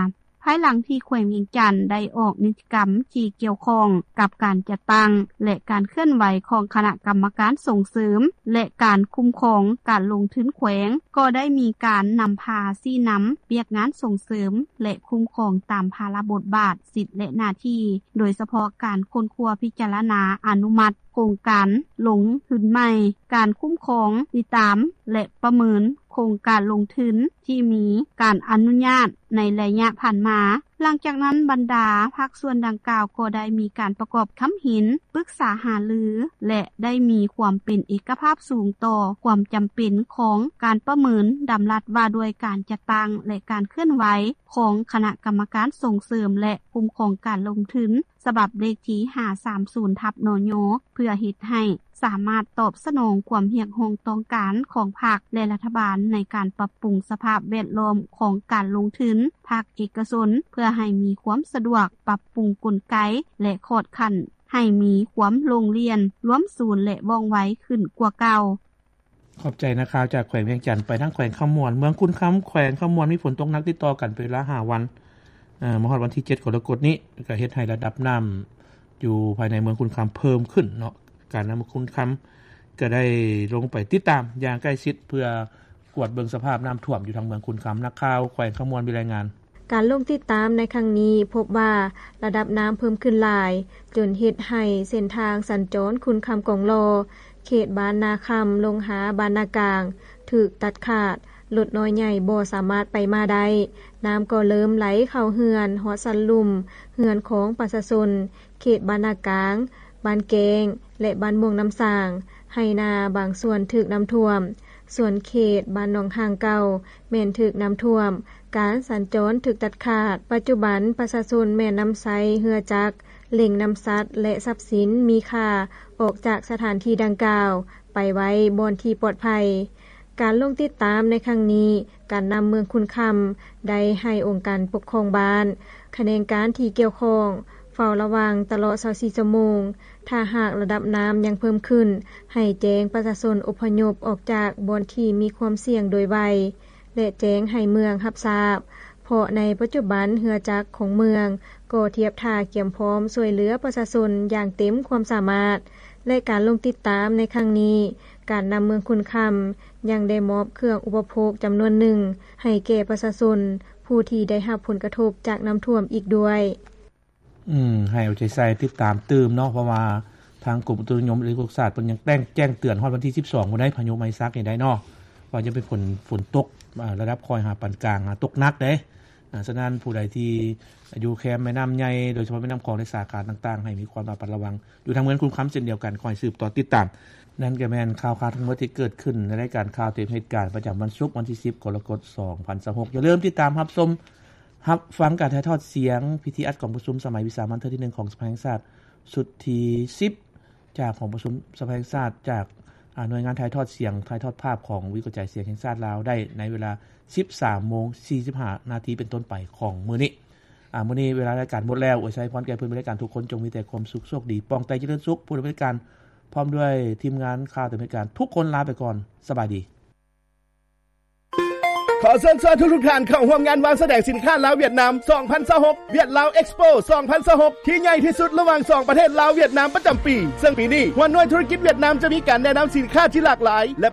ພາຍຫຼັງທີ່ແຂວງວຽງຈັນໄດ້ອອກນິຕິກຳທີ່ກ່ຽວຂ້ອງກັບການຈັດຕັ້ງ ແລະ ການເຄື່ອນໄຫວຂອງຄະນະກຳມະການສົ່ງເສີມ ແລະ ການຄຸ້ມຄອງການລົງທຶນແຂວງ ກໍໄດ້ມີການນຳພາຊີ້ນຳວຽກງານສົ່ງເສີມ ແລະ ຄຸ້ມຄອງຕາມພາລະບົດບາດ, ສິດ ແລະ ໜ້າທີ່, ໂດຍສະເພາະການຄົ້ນຄວ້າພິຈາລະນາອະນຸມັດໂຄງການລົງທຶນໃໝ່, ການຄຸ້ມຄອງ, ຕິດຕາມ ແລະ ປະເມີນໂຄງການລົງທຶນ ທີ່ມີການອະນຸຍາດໃນໄລຍະຜ່ານມາ. ຫຼັງຈາກນັ້ນ, ບັນດາພາກສ່ວນດັ່ງກ່າວກໍໄດ້ມີການປະກອບຄຳເຫັນ, ປຶກສາຫາລື ແລະ ໄດ້ມີຄວາມເປັນເອກະພາບສູງຕໍ່ຄວາມຈຳເປັນຂອງການປະເມີນດຳລັດວ່າດ້ວຍການຈັດຕັ້ງ ແລະ ການເຄື່ອນໄຫວຂອງຄະນະກຳມະການສົ່ງເສີມ ແລະ ຄຸ້ມຄອງການລົງທຶນ ສະບັບເລກທີຫ້າສາມສູນ ທັບ ນຍ ເພື່ອເຮັດໃຫ້ສາມາດຕອບສະໜອງຄວາມຮຽກຮ້ອງຕ້ອງການຂອງພັກ ແລະ ລັດຖະບານໃນການປັບປຸງສະພາບແວດລ້ອມຂອງການລົງທຶນພາກເອກະຊົນ ເພື່ອໃຫ້ມີຄວາມສະດວກ, ປັບປຸງກົນໄກ ແລະ ຂອດຂັ້ນໃຫ້ມີຄວາມໂລ່ງລ່ຽນ, ລວມສູນ ແລະ ວ່ອງໄວຂຶ້ນກວ່າເກົ່າ. ຂອບໃຈນັກຂ່າວຈາກແຂວງວຽງຈັນ. ໄປທາງແຂວງຄຳມ່ວນ, ເມືອງຄຸນຄຳ ແຂວງຄຳມ່ວນ ມີຝົນຕົກໜັກຕິດຕໍ່ກັນເປັນເວລາຫ້າວັນ, ເອີ ມາຮອດວັນທີເຈັດກໍລະກົດນີ້ ກໍເຮັດໃຫ້ລະດັບນ້ຳຢູ່ພາຍໃນເມືອງຄຸນຄຳເພີ່ມຂຶ້ນເນາະ. ການນຳເມືອງຄຸນຄຳກໍໄດ້ລົງໄປຕິດຕາມຢ່າງໃກ້ຊິດ ເພື່ອກວດເບິ່ງສະພາບນ້ຳຖ້ວມຢູ່ທາງເມືອງຄຸນຄຳ. ນັກຂ່າວແຂວງຄຳມ່ວນມີລາຍງານ. ການລົງຕິດຕາມໃນຄັ້ງນີ້ພົບວ່າລະດັບນ້ຳເພີ່ມຂຶ້ນຫຼາຍ ຈົນເຮັດໃຫ້ເສັ້ນທາງສັນຈອນຄຸນຄຳ ກອງຫຼໍ່ ເຂດບ້ານນາຄຳ ລົງຫາບ້ານນາກາງ ຖືກຕັດຂາດ, ລົດນ້ອຍໃຫຍ່ບໍ່ສາມາດໄປມາໄດ້. ນ້ຳກໍເລີ່ມໄຫຼເຂົ້າເຮືອນ, ຮອດຊັ້ນລຸ່ມເຮືອນຂອງປະຊາຊົນເຂດບ້ານນາກາງ, ບ້ານແກ້ງ ແລະ ບ້ານມ່ວງນ້ຳສາງ, ໄຮ່ນາບາງສ່ວນຖືກນ້ຳຖ້ວມ. ສ່ວນເຂດບ້ານໜອງຫ້າງເກົ່າແມ່ນຖືກນ້ຳຖ້ວມ, ການສັນຈອນຖືກຕັດຂາດ. ປັດຈຸບັນປະຊາຊົນແມ່ນນຳໃຊ້ເຮືອຈັກ ເລັ່ງນຳສັດ ແລະ ຊັບສິນມີຄ່າອອກຈາກສະຖານທີ່ດັ່ງກ່າວໄປໄວ້ບ່ອນທີ່ປອດໄພ. ການລົງຕິດຕາມໃນຄັ້ງນີ້, ການນຳເມືອງຄຸນຄຳໄດ້ໃຫ້ອົງການປົກຄອງບ້ານ, ຂະແໜງການທີ່ກ່ຽວຂ້ອງ ເຝົ້າລະວັງຕະຫຼອດຊາວສີ່ຊົ່ວໂມງ. ຖ້າຫາກລະດັບນ້ຳຍັງເພີ່ມຂຶ້ນ, ໃຫ້ແຈ້ງປະຊາຊົນອົບພະຍົບອອກຈາກບ່ອນທີ່ມີຄວາມສ່ຽງໂດຍໄວ ແລະ ແຈ້ງໃຫ້ເມືອງຮັບຊາບ, ເພາະໃນປັດຈຸບັນເຮືອຈັກຂອງເມືອງກໍທຽບທ່າກຽມພ້ອມຊ່ວຍເຫຼືອປະຊາຊົນຢ່າງເຕັມຄວາມສາມາດ ແລະ ການລົງຕິດຕາມໃນຄັ້ງນີ້, ການນຳເມືອງຄຸນຄຳຍັງໄດ້ມອບເຄື່ອງອຸປະໂພກຈຳນວນໜຶ່ງໃຫ້ແກ່ປະຊາຊົນຜູ້ທີ່ໄດ້ຮັບຜົນກະທົບຈາກນ້ຳຖ້ວມອີກດ້ວຍ. ອືມ ໃຫ້ເອົາໃຈໃສ່ຕິດຕາມຕື່ມເນາະ ເພາະວ່າທາງກົມອຸຕຸນິຍົມ ແລະ ອຸທົກສາດ ເພິ່ນຍັງແຈ້ງ ແຈ້ງເຕືອນຮອດວັນທີສິບສອງພຸ້ນໃດ ພາຍຸໄມຊັກນີ້ໄດ໋ເນາະ ວ່າຈະເປັນຝົນ ຝົນຕົກ ອາ ລະດັບຄ່ອຍຫາປານກາງ ຫາຕົກໜັກເດ້. ອາ ສະນັ້ນ ຜູ້ໃດທີ່ຢູ່ແຄມແມ່ນ້ຳໃຫຍ່ ໂດຍສະເພາະແມ່ນ້ຳຂອງ ແລະ ສາຂາຕ່າງໆ ໃຫ້ມີຄວາມລະມັດລະວັງ. ຢູ່ທາງເມືອງຄຸນຄຳເຊັ່ນດຽວກັນ ຂໍໃຫ້ສືບຕໍ່ຕິດຕາມ. ນັ້ນກໍແມ່ນຂ່າວຄາວທັງໝົດທີ່ເກີດຂຶ້ນໃນລາຍການຂ່າວຕາມເຫດການ ປະຈຳວັນສຸກ ວັນທີສິບ ກໍລະກົດ ສອງພັນຊາວຫົກ. ຢ່າລືມຕິດຕາມຮັບຊົມ ຮັບຟັງການຖ່າຍທອດສຽງພິທີອັດກອງປະຊຸມສະໄໝວິສາມັນເທື່ອທີໜຶ່ງຂອງສະພາແຫ່ງຊາດ ຊຸດທີສິບ ຈາກຫ້ອງປະຊຸມສະພາແຫ່ງຊາດ ຈາກ ອາ ໜ່ວຍງານຖ່າຍທອດສຽງ ຖ່າຍທອດພາບຂອງວິທະຍຸກະຈາຍສຽງແຫ່ງຊາດລາວ ໄດ້ໃນເວລາ ສິບສາມໂມງ ສີ່ສິບຫ້ານາທີ ເປັນຕົ້ນໄປຂອງມື້ນີ້. ອາ ມື້ນີ້ເວລາລາຍການໝົດແລ້ວ. ອວຍໄຊພອນແກ່ເພື່ອນເປັນລາຍການທຸກຄົນ ຈົ່ງມີແຕ່ຄວາມສຸກ ໂຊກດີ ປອງໃຕ້ຈະເລີນສຸກ. ຜູ້ດຳເນີນລາຍການ ພ້ອມດ້ວຍທີມງານຂ່າວຕາມເຫດການ ທຸກຄົນລາໄປກ່ອນ. ສະບາຍດີ. ຂໍເຊີນຊວນທຸກໆທ່ານເຂົ້າຮ່ວມງານວາງສະແດງສິນຄ້າລາວ-ຫວຽດນາມ ສອງພັນຊາວຫົກ ຫວຽດລາວເອັກສະໂປ ສອງພັນຊາວຫົກ ທີ່ໃຫຍ່ທີ່ສຸດລະຫວ່າງສອງປະເທດລາວ-ຫວຽດນາມປະຈຳປີ, ເຊິ່ງປີນີ້ຫົວໜ່ວຍທຸລະກິດຫວຽດນາມຈະມີການແນະນຳສິນຄ້າທີ່ຫຼາກຫຼາຍ ແລະ